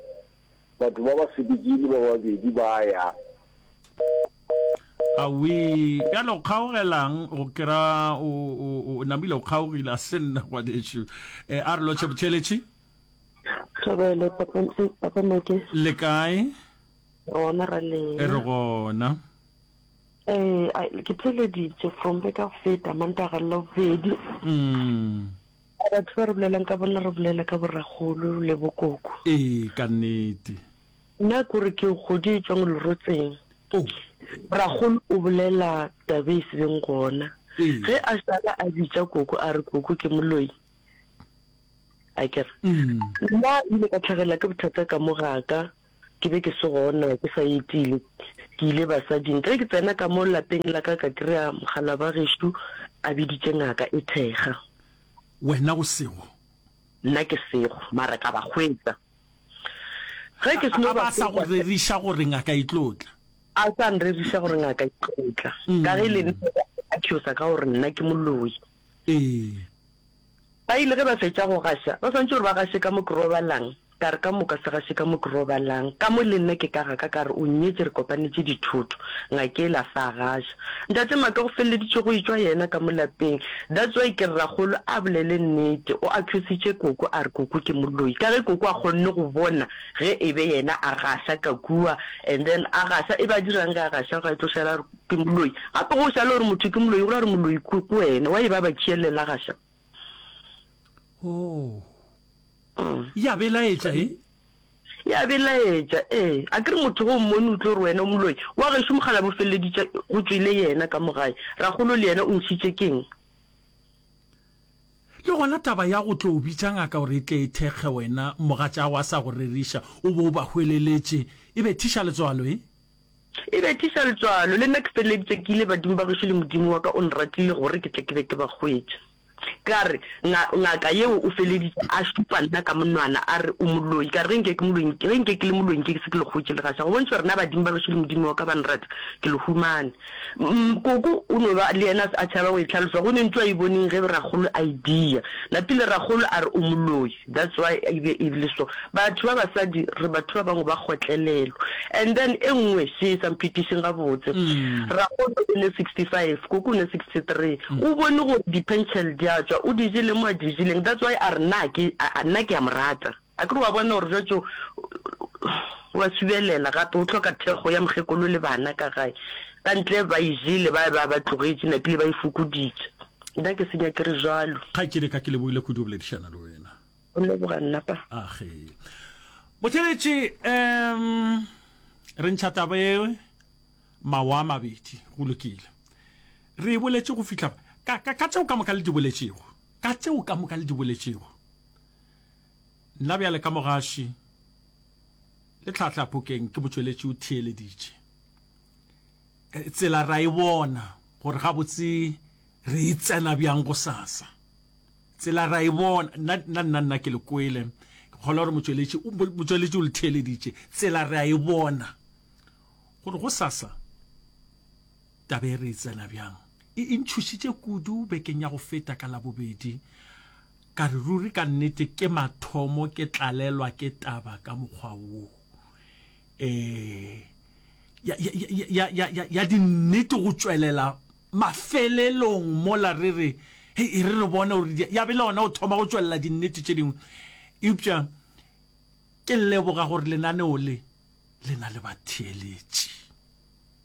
batho ba ba sepetšile ba babedi ba ya. Awii, bjale o kgaogelang go kera o, o, o namile o kgaogile, a se nna ngwanešu. E, a re lotšhe botheeletši. Thobelo, papa, papa Make. Le kae? Re gona ra lena. E re gona. Eh, ke theeleditše from beke ya go feta, Mantaga le Labobedi. Mm. Batho ba re bolelang ka bona re bolela ka borakgolo le bokoko. Ee, ka nnete. Nna ke gore ke kgodi e tšwang lerotseng. Oh. Rakgolo o bolela taba e se beng gona. Ee. Ge a šala a bitša koko a re koko ke moloi. Akere. Mm. Nna ile ka tlhagelwa ke bothata ka mo ga ka. Ke be ke se gona, ke sa etile. Ke ile basading. Ge ke tsena ka mo lapeng la ka ka kry-a mokgalabje gešo a biditše ngaka e thekga. Wena o sego? Nna ke sego, mara ka ba hwetša. Ge ke seno A ba ba sa go hwetša. reriša gore ngaka e tlo tla? A sa nreriša gore ngaka e tlo tla. Ka ge le nna a accusa ka gore nna ke moloi. Ee. Ba ile ge ba fetša go gaša, ba swanetše gore ba gaše ka mo ke robalang. Ka re, Ka moka se gaše ka mo ke robalang. Ka mo le nna ke ka ga ka, ka re, O nnyetše, re kopanetše dithoto. Ngaka ela a sa gaša. Ntate Maka go feleleditše go etšwa yena ka mo lapeng. That's why ke re rakgolo a bolele nnete. O accusitše koko a re koko ke moloi. Ka ge koko a kgonne go bona ge e be yena a gaša ka kua and then a gaša, e be a dirang ge a gaša ga e tlo šala a re ke moloi. Gape ge o šala o re motho ke moloi go ra gore moloi ke wena. Why ba ba tšeelela gaša? Oh. Ya belaetša, e? Ya belaetša, ee. A ke re motho ge o mmone o tlo re wena o moloi. Wa gešo mokgalabje o feleleditše go tšwele yena ka mo gae. Rakgolo le yena o ntšhitše keng? Le gona taba ya go tlo bitša ngaka gore e tle e thekge wena mogatšago a sa go reriša o be o ba hweleletše e bethiša letswalo, e? E bethiša letswalo. Le nna ke feleleditše ke ile badimo ba gešo le Modimo wa ka o nratile gore ke tle ke be ke ba hwetše. Ka re, Nga, ngaka yeo o feleditše a šupa nna ka monwana, a re, O moloi. Ka re, Ge nke ke moloi, ge nke ke le moloi nke ke se ke le hwetše legaša. Go bontšha gore na badimo ba gešo le Modimo wa ka ba nrata, ke le humane. Mm, koko o no ba le yena a tšhaba go e hlalosa, go ne ntho a e boneng ge rakgolo a e dia. Napile rakgolo a re o moloi, that's why e be e le so. Batho ba basadi re batho ba bangwe ba kgotlelelo. And then e nngwe še e sa mphetišeng gabotse. Rakgolo o ne sixty five, koko o ne sixty three. O bone gore di pension di a tšwa, o di jele mo a di jeleng, that's why a re nna ke, nna ke a mo rata. Akere wa bona gore jwatšo o a subelela gape o hloka thekgo ya mokgekolo le bana ka gae. Ka ntle ba e jele ba ba ba tlogetše napile ba e fokoditše. Nna ke se nyake re jwalo. Kgaetšedi ka ke lebohile kudu go boledišana le wena. Go leboga nna pa. Age. Motheeletši, um re ntšha taba e mawa a mabedi, go lokile. Re e boletše go fihla ka, ka, ka tšeo ka moka le di boletšego, ka tšeo ka moka le di boletšego. Nna bjale ka mogaši le tlhahlapokeng ke motšweletši o theeleditše. Tsela ra e bona gore gabotse re e tsena bjang gosasa. Tsela ra e bona, nna, nna, nna, nna ke le kwele. Ke kgolwa gore motšweletši, motšweletši o le theeleditše. Tsela re a e bona gore gosasa taba e re e tsena bjang. E, e ntšhošitše kudu bekeng ya go feta ka Labobedi. Ka re ruri ka nnete ke mathomo ke tlalelwa ke taba ka mokgwa wo. E, ya, ya, ya, ya, ya, ya dinnete go tšwelela mafelelong mola re re, hei, e re re bone gore di, ya be le gona go thoma go tšwelela dinnete tše dingwe. Eupša ke leboga gore lenaneo le le na le batheeletši.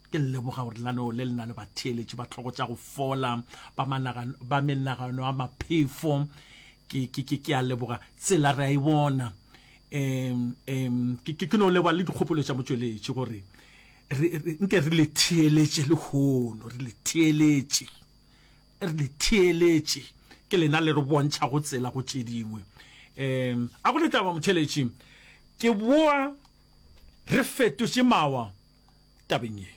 Ke leboga gore lenaneo le le na le batheeletši ba tlhogo tša go fola, ba managano, ba menagano ya maphefo. Ke, ke, ke, ke a leboga. Tsela re a e bona. Um, um, ke, ke, ke no leboga le dikgopolo tša motšweletši gore re, re, nke re le theeletše lehono, re le theeletše, re le theeletše. Ke lena le re bontšhago tsela go tše dingwe. Um, a go le taba motheeletši, ke boa re fetotše mawa tabeng ye.